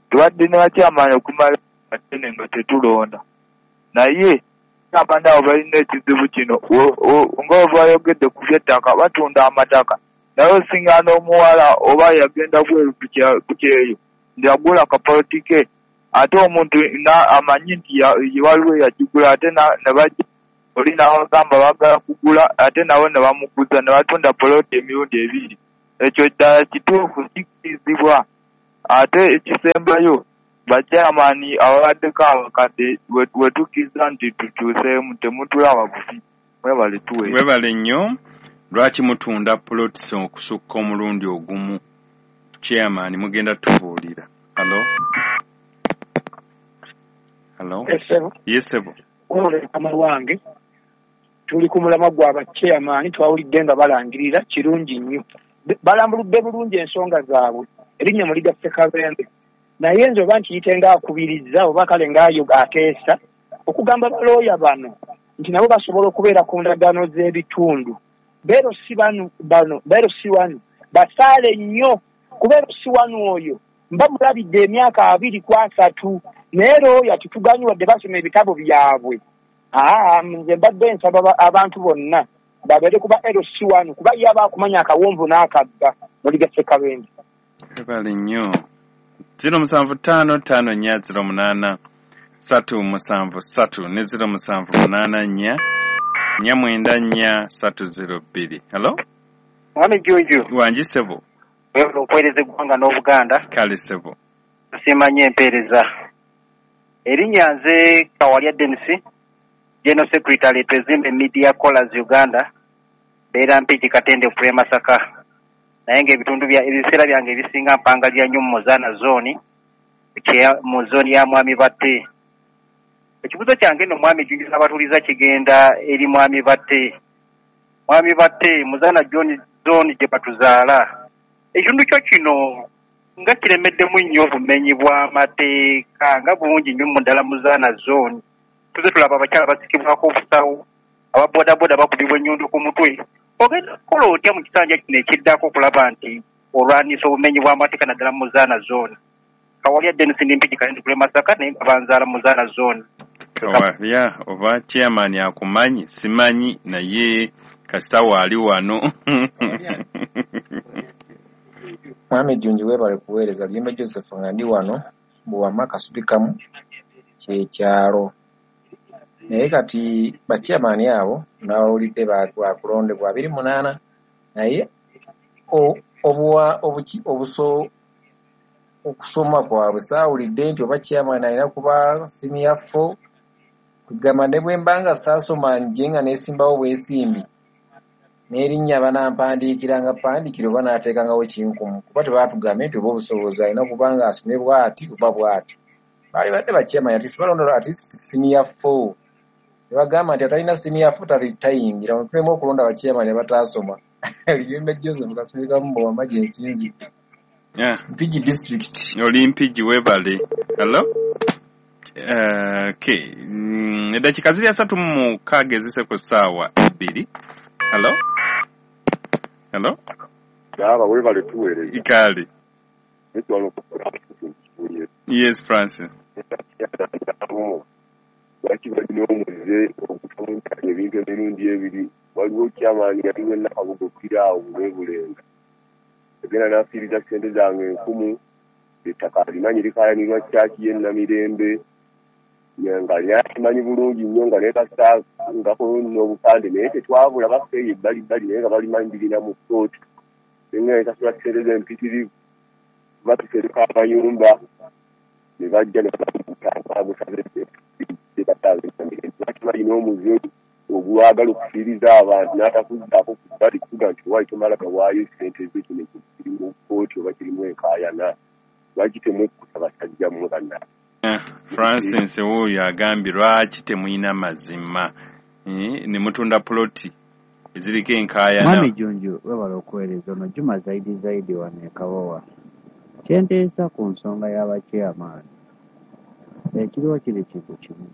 Tubadde ne bachairman okumala ddene nga tetulonda. Naye abantu abo balina ekizibu kino, nga bwe bayogedde ku by'ettaka, batunda amataka. Naye osinga n'omuwala oba yagenda bweru ku kyeyo nti agula akapoloti ke, ate omuntu amanyi nti waliwo eyagigula, ate ne bajja oli n'abagamba baagala kugula, ate nabo ne bamuguza ne batunda poloti emirundi ebiri. Ekyo ddala kituufu kikkirizibwa. Ate ekisembayo, bakyamaani ababaddeko abakadde we tukkiriza nti tukyuseemu, temutulaba bubi. Mwebale tuweereza. Mwebale nnyo. Lwaki mutunda plots okusukka omulundi ogumu? Chairman mugenda tubuulira. Hello? Hello? Yes, sebo. Mukama wange, tuli ku mulamwa gwa bachairman, twawulidde nga balangirira kirungi nnyo. Balambuludde bulungi ensonga zaabwe. Erinnya muliga Ssekabembe. Naye nze oba nkiyite ng'akubiriza oba kale ng'ayo ateesa okugamba balooya bano nti nabo basobola okubeera ku ndagaano z'ebitundu. Beero si bano bano, beero si wano basaale nnyo, kuba ero si wano oyo mba mulabidde emyaka abiri ku asatu, naye looya tetuganyi wadde basoma ebitabo byabwe. Aa, nze mbadde nsaba abantu bonna babeere kuba ero si wano, kuba ye aba akumanya akawonvu n'akagga. Muliga Ssekabembe. Mwebale nnyo. Ziro musanvu ttaano ttaano nnya ziro munaana ssatu musanvu ssatu ne ziro musanvu munaana nnya nnya mwenda nnya ssatu ziro bbiri. Hello? Mwami Junju. Wangi ssebo. Weebale okuweereza eggwanga n'Obuganda. Kale ssebo. Tusiima nnyo empeereza. Erinnya nze Kawalya Dennis, General Secretary Twezimbe Media Callers Uganda, mbeera Mpigi Katende Pre Masaka. Naye ng'ebitundu bya ebiseera byange ebisinga mpangalira nnyo mu Muzaana zooni, mu zooni ya Mwami Batte. Ekibuuzo kyange nno Mwami Junju n'abatuuliza kigenda eri Mwami Batte. Mwami Batte, Muzaana zooni gye batuzaala. Ekitundu kyo kino nga kiremeddemu nnyo obumenyi bw'amateeka nga bungi nnyo mu ddala Muzaana zooni. Tuze tulaba abakyala basikibwako obusawo, ababoodabooda bakubibwa ennyondo ku mutwe. Ogenda kukola otya mu kisanja kino ekiddako okulaba nti olwanisa obumenyi bw'amateeka naddala mu Muzaana zooni? Kawalya Dennis ndi Mpigi Katende kule Masaka, naye nga banzaala Muzaana zooni. Kawalya oba chairman akumanyi simanyi, naye kasita waali wano. Mwami Junju weebale kuweereza. Luyimbe Joseph nga ndi wano Buwama Kasubikamu kyekyalo. Naye kati bachairman abo nawulidde bakulondebwa abiri munaana, naye obuwa obuki obuso okusoma kwabwe saawulidde nti oba chairman alina kuba senior four. Kugamba ne bwe mba nga saasoma nje nga neesimbawo bwesimbi n'erinnya banampandiikira nga pandiikira oba naateekangawo kinkumu, kuba tebaatugambye nti oba obusobozi alina kuba nga asomye bw'ati oba bw'ati. Baali badde bachairman at least balonda at least senior four. Tebagamba nti atalina senior four tayingira. Tuleme okulonda bachairman abataasoma. Luyimbe Joseph Kasubikamu Buwama gye nsinzidde. Mpigi district. Oli Mpigi, weebale. Hello? Okay. Eddakiika ziri asatu mu mukaaga ezise ku ssaawa ebbiri. Hello? Hello? Baba weebale tuweereza. Kale. Yes, Francis. Lwaki balina omuze okutunda ebintu emirundi ebiri? Waliwo chairman yaliwo Nakabugo Piraawo Bulenga. Agenda n'afiiriza ssente zange enkumu, ettaka alimanyi likaayanirwa kyaki ye Namirembe, nga lyakimanyi bulungi nnyo nga nekasangako n'obupande, naye tetwabula baffe eyo ebbali bbali, naye nga balimanyi birina mu kkooti. Nga nekasula ssente z'empitirivu, batusereka amayumba ne bajja ne bagusaze balina omuze ogwagala okufiiriza abantu n'atakuzzaako ku bbali kuga nti owaayi tomala gawaayo ssente zo, kino kiri mu kkooti oba kirimu enkaayana. Lwaki temwekkusa basajja mmwe bannange? Francis wuuyo agambye lwaki temulina mazima ne mutunda ploti eziriko enkaayana. Mwami Junju webale okuweereza. Ono Juma Zaidi Zaidi wano e Kabowa. Kyenteesa ku nsonga y'abachairman, ekiriwo kiri kintu kimu.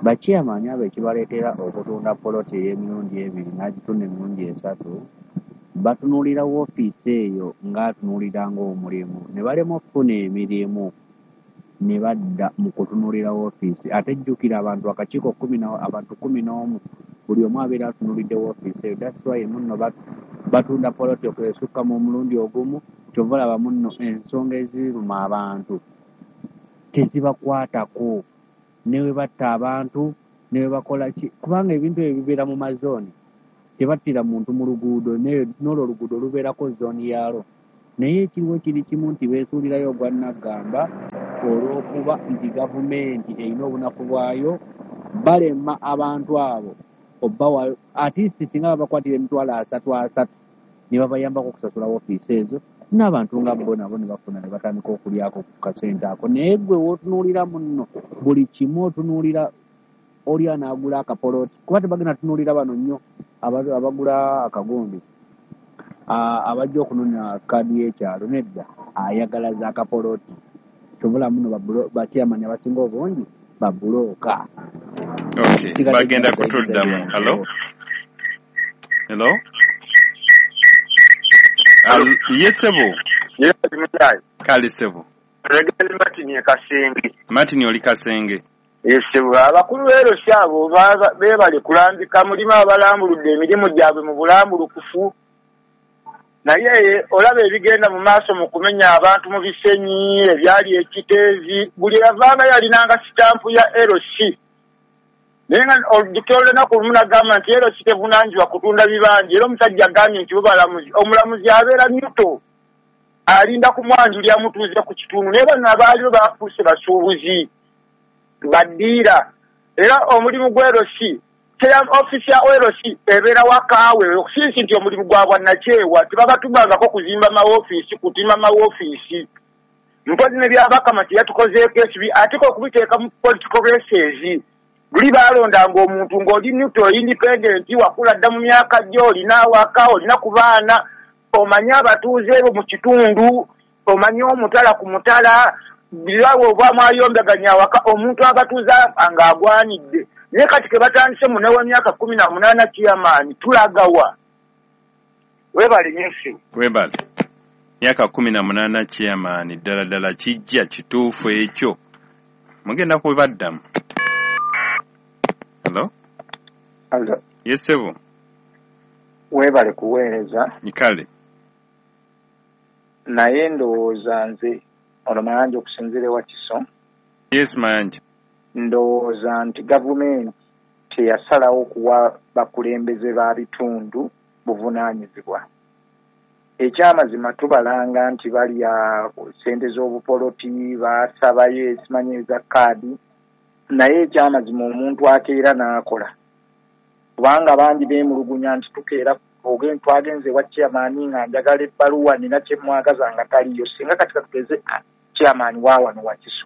Bachairman abo ekibaleetera okutunda poloti ey'emirundi ebiri n'agitunda emirundi esatu, batunuulira woofiisi eyo ng'atunuulira ng'omulimu ne balema okufuna emirimu. Ne badda mu kutunuulira woofiisi. Ate jjukira abantu akakiiko kkumi na abantu kkumi n'omu, buli omu abeera atunuulidde woofiisi eyo. That's why munno batunda poloti esukka mu mulundi ogumu. Kyova olaba munno ensonga eziruma abantu tezibakwatako, ne bwe batta abantu ne bwe bakola ki, kubanga ebintu ebyo bibeera mu mazooni. Tebattira muntu mu luguudo, n'olwo oluguudo lubeerako zooni yaalwo. Naye ekiriwo kiri kimu nti beesuulirayo ogwa nnaggamba olw'okuba nti gavumenti erina obunafu bwayo, balema abantu abo obbawaayo at least singa babakwatira emitwalo asatu asatu ne babayambako okusasula woofiisi ezo, n'abantu nga bo nabo ne bafuna ne batandika okulyako ku kasente ako. Naye ggwe w'otunuulira munno buli kimu otunuulira oli anaagula akapoloti, kuba tebagenda tunuulira bano nnyo abagula akagundi abajja okunoonya kaadi y'ekyalo. Nedda, ayagala za akapoloti. Kyova muno bachairman abasinga obungi babulooka. Okay, bagenda kutuddamu. Hello? Hello? Yes, sebo. Yes, kale sebo. Regeli Martin e Kasenge. Martin oli Kasenge. Yes, sebo. Abakulu b'ero abo beebale kulambika mulimu abalambuludde emirimu gyabwe mu bulambulukufu. Naye olaba ebigenda mu maaso mu kumenya abantu mu Bisenyi, ebyali ekiteezi, buli yavanga yalinanga sitampu ya L C. Naye nga olujjukira olunaku lumu nagamba nti L C tevunaanyizibwa kutunda bibanja, era omusajja agambye nti bo balamuzi, omulamuzi abeera nyuto alinda kumwanjulira mutuuze ku kitundu. Naye bano abaaliwo bafuuse basuubuzi baddiira, era omulimu gwa L C, ofiisi ya L C ebeera wakaawe okusinsi nti omulimu gwa bwannakyewa, tebabatumangako kuzimba mawofiisi, kutima mawofiisi. Mpozi ne Byabakama teyatukozeeko ekibi, ate okubiteeka mu political races. Luli baalondanga omuntu ng'oli neutral, independent, wakula dda mu myaka gyo, olina awaka, olina ku baana, omanye abatuuze bo mu kitundu, omanye omutala ku mutala, birawo oba mwayombaganya awaka, omuntu abatuuze ng'agwanidde. Naye kati ke batandise mu n'ew'emyaka kkumi na munaana chairman, tulagawa. Weebale nnyo. Weebale. Myaka kkumi na munaana chairman, ddala ddala kijja kituufu ekyo. Mugenda kubaddamu. Hello? Hello. Yes, sebo. Weebale kuweereza. Kale. Naye ndowooza nze ono Mayanja okusinziira ewa Kiso. Yes, Mayanja. Ndowooza nti gavumenti teyasalawo kuwa bakulembeze ba bitundu buvunaanyizibwa. Ekyamazima tubalanga nti balya ssente z'obupoloti, basabayo esimanyi eza kaadi, naye ekyamazima omuntu akeera n'akola. Kubanga bangi beemulugunya nti tukeera twagenze ewa chairman nga njagala ebbaluwa nina kye mwagaza nga taliyo. Singa kati katugeze chairman wa wano wa Kiso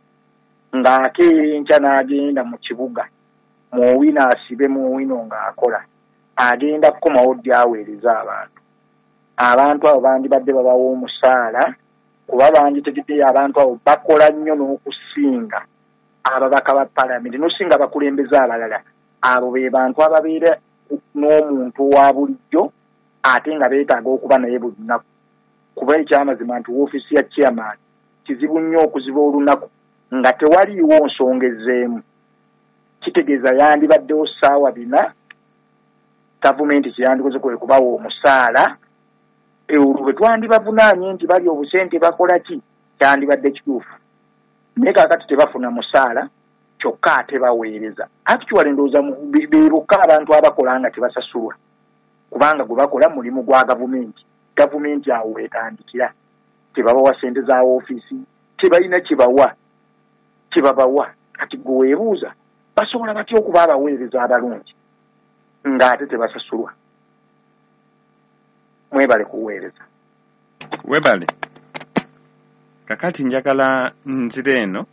ng'akeera enkya n'agenda mu kibuga, muwino asibe muwino ng'akola, agenda kukomawo ddi aweereza abantu. Abantu abo bandibadde babawa omusaala, kuba banditegeddeyo abantu abo bakola nnyo n'okusinga ababaka ba paalamenti n'okusinga abakulembeze abalala. Abo be bantu ababeera n'omuntu owa bulijjo ate nga beetaaga okuba naye buli lunaku. Kuba ekyamazima nti woofiisi ya chairman kizibu nnyo okuziba olunaku nga tewaliiwo nsonga ezzeemu. Kitegeeza yandibaddewo ssaawa bina, gavumenti kyeyandikoze kwe kubawa omusaala, olwo bwe twandibavunaanye nti bali obusente bakola ki, kyandibadde kituufu. Naye kaakati tebafuna musaala, kyokka ate baweereza. Actually ndowooza be bokka abantu abakola nga tebasasulwa, kubanga gwe bakola mulimu gwa gavumenti. Gavumenti awo wetandikira, tebabawa ssente za woofiisi, tebalina kyebawa kyebabawa. Kati gwe weebuuza basobola batya okuba abaweereza abalungi ng'ate tebasasulwa? Mwebale kuweereza. Webale. Kakati njagala nzire eno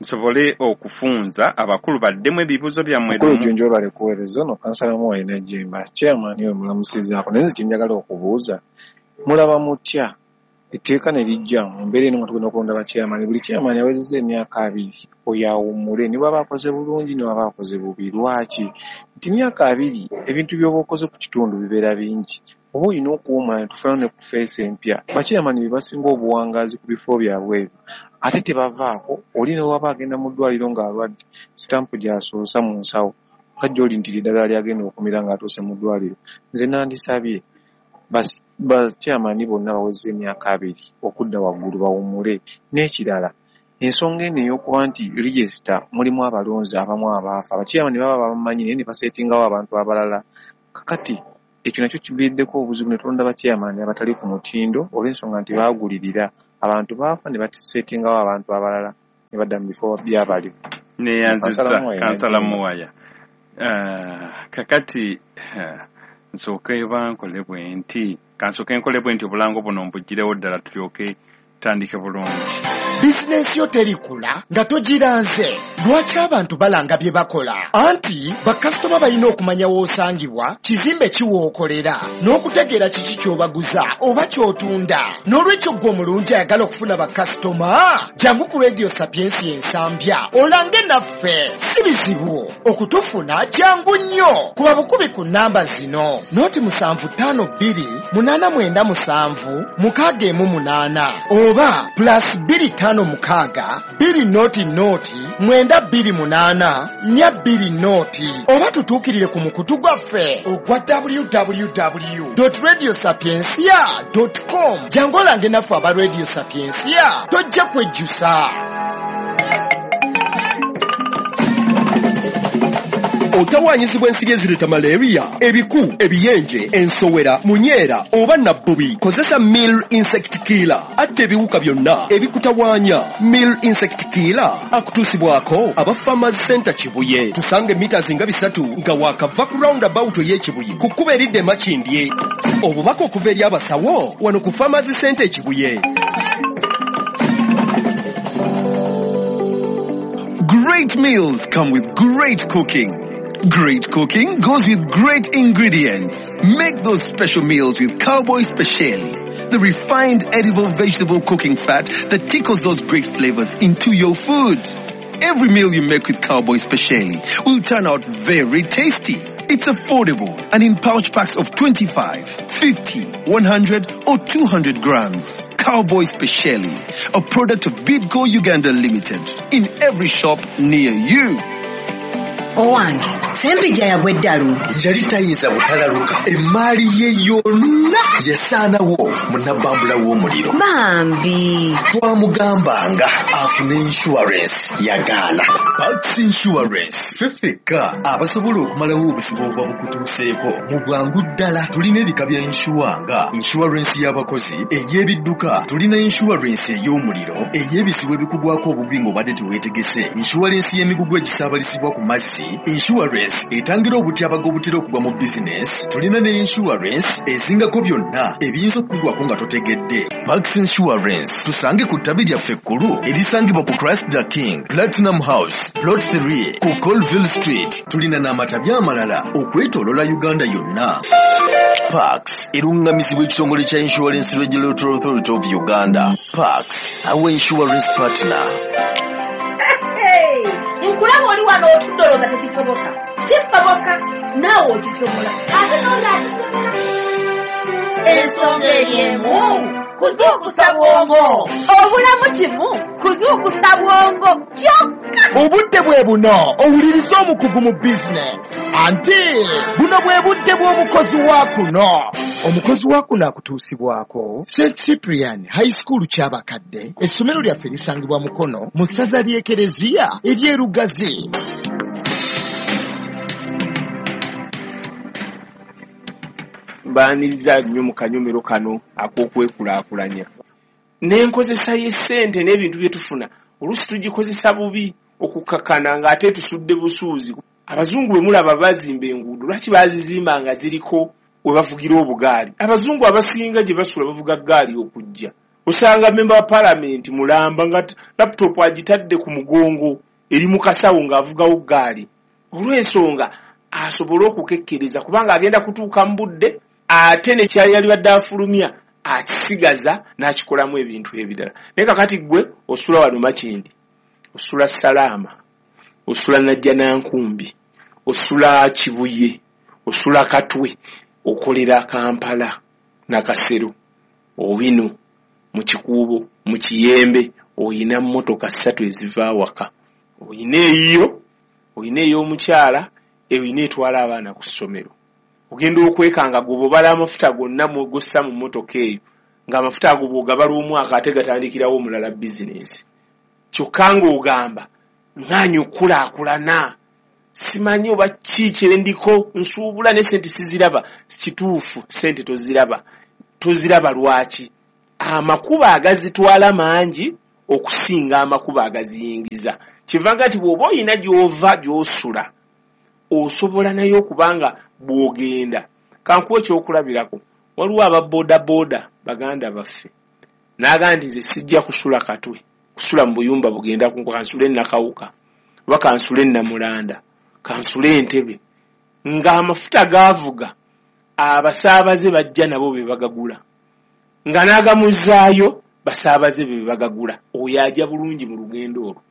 nsobole okufunza abakulu baddemu ebibuuzo byammwe. Mukulu Jjunju webale kuweereza. Ono kansala Muwalina Jjemba, chairman we mulamusizaako. Naye nze kye njagala okubuuza, mulaba mutya etteeka ne lijja mu mbeera eno nga tugenda okulonda ba chairman, buli chairman awezezza emyaka abiri oyo awummule, ne bw'aba akoze bulungi ne bw'aba akoze bubi. Lwaki? Nti myaka abiri ebintu by'oba okoze ku kitundu bibeera bingi. Oba olina okuwummula ne tufunayo ne ku feesi empya. Bachairman be basinga obuwangaazi ku bifo byabwe ebyo. Ate tebavaako, oli ne bw'aba agenda mu ddwaliro ng'alwadde, sitampu gy'asoosa mu nsawo, kajja oli nti eddagala ly'agenda okumira ng'atuuse mu ddwaliro. Nze nandisabye bachairman bonna baweze emyaka abiri okudda waggulu bawummule. N'ekirala, ensonga eno ey'okuba nti register mulimu abalonzi abamu abaafa, abachairman baba babamanyi naye ne basetingawo abantu abalala. Kakati ekyo nakyo kiviiriddeko obuzibu ne tulonda bachairman abatali ku mutindo olw'ensonga nti baagulirira abantu baafa ne basetingawo abantu abalala ne badda mu bifo byabali. Neyanziza Kansala Muwaya. Uh, kakati uh, nsooke bankole bwe nti kansooke nkole bwe nti obulango buno mbugirewo ddala tulyoke tutandike bulungi. Bizinensi yo terikula nga togiranze. Lwaki abantu balanga bye bakola? Anti bakasitoma balina okumanya w'osangibwa, kizimbe ki w'okolera, n'okutegeera kiki ky'obaguza oba ky'otunda. N'olwekyo ggwe omulungi ayagala okufuna bakasitoma, jangu ku Radio Sapiensia Ensambya olange naffe. Si bizibu okutufuna, jangu nnyo. Kuba bukubi ku nnamba zino: noti musanvu ttaano bbiri munaana mwenda musanvu mukaaga emu munaana oba plus bbiri ttaano mukaaga bbiri noti noti mwenda bbiri munaana nnya bbiri noti oba tutuukirire ku mukutu gwaffe ogwa w w w dot radio sapiensia dot com. Jangu olange naffe aba Radio Sapiensia, tojja kwejjusa. Otawaanyizibwa ensiri ezireeta malaria, ebiku, ebiyenje, ensowera, munyeera oba nabbubi. Kozesa Mill Insect Killer atta ebiwuka byonna ebikutawaanya. Mill Insect Killer akutuusibwako aba Farmers Center Kibuye. Tusange mita nga bisatu nga waakava ku roundabout ey'Ekibuye ku kkubo eridda e Makindye. Obubaka okuva eri abasawo wano ku Farmers Center e Kibuye. Great meals come with great cooking. Great cooking goes with great ingredients. Make those special meals with Cowboy Speciale, the refined edible vegetable cooking fat that tickles those great flavors into your food. Every meal you make with Cowboy Speciale will turn out very tasty. It's affordable and in pouch packs of twenty-five, fifty, one hundred or two hundred grams. Cowboy Speciale, a product of Bidco Uganda Limited, in every shop near you. Owange, Sempijja yagwa eddalu. Yali tayinza butalaluka. Emmaali ye yonna yasaanawo mu nabbambula w'omuliro. Bambi. Twamugambanga afune insurance yagaana. Pax Insurance ffe ffekka abasobola okumalawo obuzibu obuba bukutuuseeko mu bwangu ddala. Tulina ebika bya insure nga insurance y'abakozi, ey'ebidduka, tulina insurance ey'omuliro, ey'ebizibu ebikugwako obubi ng'obadde teweetegese, insurance y'emigugu egisaabalizibwa ku mazzi, insurance etangira obutyabaga obutera okugwa mu bizinesi, tulina ne insurance ezingako byonna ebiyinza okukugwako nga totegedde. Max Insurance tusange ku ttabi lyaffe ekkulu erisangibwa ku Christ the King Platinum House Plot three ku Colville Street. Tulina n'amatabi amalala okwetooloola Uganda yonna. Pax erungamizibwa ekitongole kya Insurance Regulatory Authority of Uganda. Pax, our insurance partner. Nkulaba oli wano otudde olowooza tekisoboka. Kisoboka, naawe okisobola. Ate n'oli akisobola. Ensonga eri emu, kuzuukusa bwongo. Obulamu kimu, kuzuukusa bwongo kyokka. Obudde bwe buno owuliriza omukugu mu bizinesi. Anti buno bwe budde bw'omukozi wa kuno. Omukozi wa kuno akutuusibwako Saint Cyprian High School Kyabakadde. Essomero lyaffe lisangibwa Mukono mu ssaza ly'Ekereziya ery'e Lugazi. Mbaaniriza nnyo mu kanyomero kano ak'okwekulaakulanya. N'enkozesa y'essente n'ebintu bye tufuna oluusi tugikozesa bubi okukakkana ng'ate tusudde busuuzi. Abazungu bwe mulaba bazimba enguudo, lwaki baazizimba nga ziriko we bavugira obugaali? Abazungu abasinga gye basula bavuga ggaali okujja. Osanga memba wa paalamenti mulamba nga laptop agitadde ku mugongo eri mu kasawo ng'avugawo ggaali. Olw'ensonga asobole okukekkereza kubanga agenda kutuuka mu budde ate ne kyali yalibadde afulumya akisigaza n'akikolamu ebintu ebirala. Naye kakati ggwe osula wano Makindye, osula Salaama, osula Najjanankumbi, osula Kibuye, osula Katwe, Okolera Kampala, Nakasero, Owino, mu Kikuubo, mu Kiyembe, oyina mmotoka ssatu eziva awaka. Oyina eyiyo, oyina ey'omukyala, oyina etwala abaana ku ssomero. Ogenda okwekanga gwe bw'obala amafuta gonna gossa mu mmotoka eyo, ng'amafuta ago bw'ogabala omwaka ate gatandikirawo omulala bizinensi. Kyokka ng'ogamba ŋŋaanyi okukulaakulana, simanyi oba ki kye ndiko, nsuubula ne ssente siziraba. Kituufu ssente toziraba. Toziraba lwaki? Amakubo agazitwala mangi okusinga amakubo agaziyingiza. Kivanga nti bw'oba oyina gy'ova gy'osula, osobola naye okubanga bw'ogenda. Kankuwe ekyokulabirako, waliwo aba boodabooda baganda baffe. N'agamba nti nze sijja kusula Katwe, kusula mu buyumba bugenda kunkuba, kansule Nakawuka, oba kansule Namulanda, kansule Entebbe. Ng'amafuta gaavuga, abasaabaze bajja nabo be bagagula. Nga n'agamuzaayo, basaabaze be bagagula. Oyo ajja bulungi mu lugendo olwo.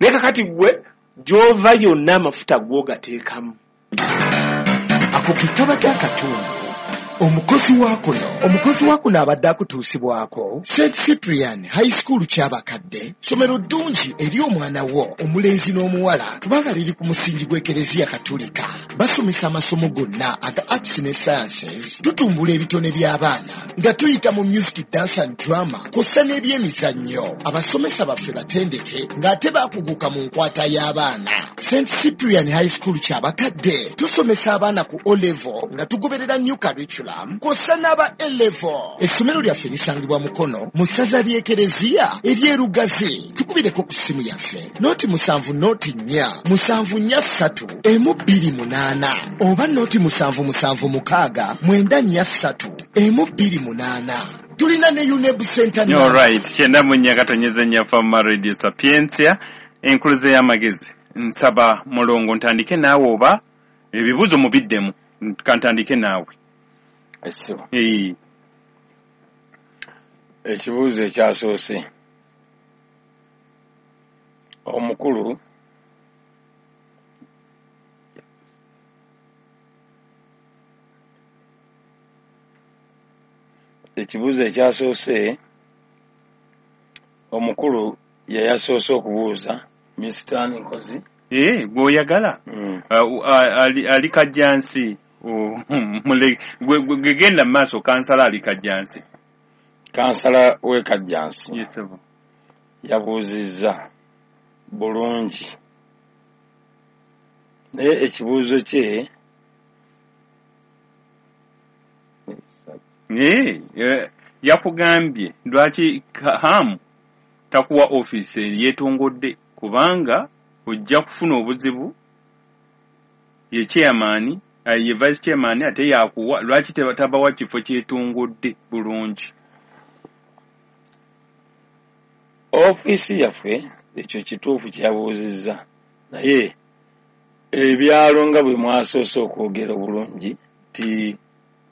Naye kakati ggwe gy'ova yonna amafuta gw'ogateekamu. Ako ke kabadde akatundu. Omukozi wa kuno, omukozi wa kuno abadde akutuusibwako Saint Cyprian High School Kyabakadde, ssomero ddungi eri omwana wo omulenzi n'omuwala kubanga liri ku musingi gw'Ekereziya Katulika. Basomesa amasomo gonna aga arts ne sciences, tutumbula ebitone by'abaana nga tuyita mu music, dance and drama kw'ossa n'ebyemizannyo. Abasomesa baffe batendeke ng'ate baakuguka mu nkwata y'abaana. Saint Cyprian High School Kyabakadde tusomesa abaana ku O level nga tugoberera new curriculum kw'ossa n'aba A level. Essomero lyaffe lisangibwa Mukono mu ssaza ly'Ekereziya ery'Erugazi. Tukubireko ku ssimu yaffe noti musanvu noti nnya musanvu nnya ssatu emu bbiri munaana oba noti musanvu musanvu mukaaga mwenda nnya ssatu emu bbiri munaana. Tulina ne UNEB Center. All right, kyenda mu nnya katonyeze nnya Fama Radio Sapientia, enkuluze y'amagezi. Nsaba Mulongo ntandike naawe oba ebibuuzo mubiddemu, kantandike naawe. Essibo. Ee. Ekibuuzo ekyasoose, omukulu ekibuuzo ekyasoose omukulu yeyasoose okubuuza Mister Nkozi. Ee, gw'oyagala Mm. Uh, uh, ali, ali Kajjansi. Oh, mule- gwe- gwe- gwe genda mu maaso, kansala ali Kajjansi. Kansala w'e Kajjansi Yes, sir. yabuuzizza bulungi, naye ekibuuzo kye Ee, eh, yakugambye lwaki Hamu takuwa ofiisi yeetongodde, kubanga ojja kufuna obuzibu. Ye chairman, eh, ye vice chairman ate yakuwa, lwaki teba- tabawa kifo kyetongodde bulungi? Ofiisi yaffe ekyo kituufu kyeyabuuzizza, naye ebyalo nga bwe mwasoose okwogera obulungi nti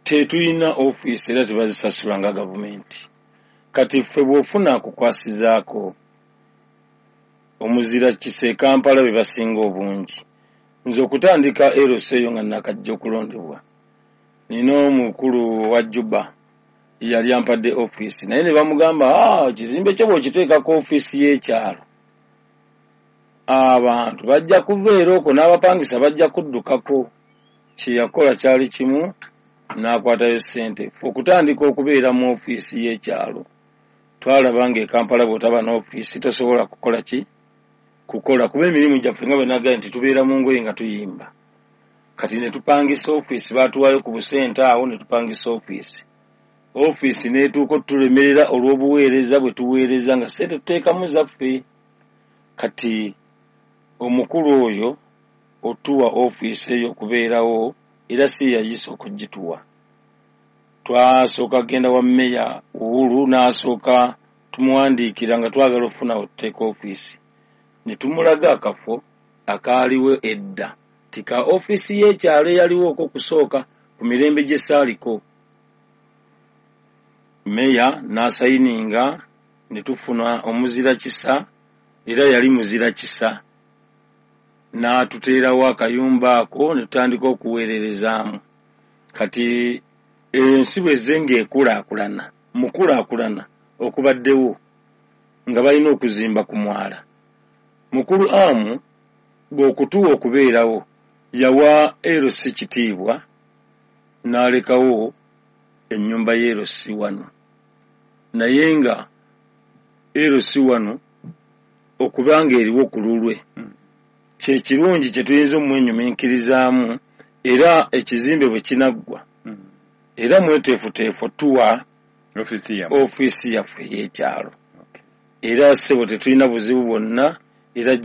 tetulina ofiisi era tebazisasula nga gavumenti. Kati ffe bw'ofuna akukwasizaako omuzira kisa e Kampala be basinga obungi. Nze okutandika L C eyo nga nakajja okulondebwa, nina omukulu wa Juba yali ampadde ofiisi, naye ne bamugamba, "Ah, ekizimbe kyo bw'okiteekako ofiisi y'ekyalo abantu bajja kuva era okwo n'abapangisa bajja kuddukako." Kye yakola kyali kimu, n'akwatayo ssente. Ffe okutandika okubeera mu ofiisi y'ekyalo, twalaba ng'e Kampala bw'otaba n'ofiisi tosobola kukola ki? Kukola, kuba emirimu gyaffe nga bwe nagambye nti tubeera mu ngoye nga tuyimba. Kati ne tupangisa ofiisi, baatuwaayo ku busente awo ne tupangisa ofiisi. Ofiisi n'etuuka otulemerera olw'obuweereza bwe tuweereza nga ssente tuteekamu zaffe. Kati omukulu oyo otuwa ofiisi eyo okubeerawo, era si yayise okugituwa. Twasooka kugenda wa Mmeya Uhuru, n'asooka tumuwandiikira nga twagala okufuna we tuteeka ofiisi. Ne tumulaga akafo akaaliwo edda, ti ka ofiisi y'ekyalo eyaliwo okusooka ku mirembe gye saaliko. Mmeya n'asayininga ne tufuna omuzira kisa, era yali muzira kisa, n'atuteerawo akayumba ako ne tutandika okuweererezaamu. Kati Ensi bwezze ng'ekulaakulana, mu kulaakulana okubaddewo nga balina okuzimba ku mwala. Mukulu Amu bw'okutuwa okubeerawo yawa L C kitiibwa n'alekawo ennyumba ya L C wano, naye nga L C wano okubanga eriwo ku lulwe kye kirungi kye tuyinza omwenyuminkirizaamu. Era ekizimbe bwe kinaggwa era mweteefuteefu tuwa ofiisi yaffe ey'ekyalo. Era ssebo tetulina buzibu bwonna, era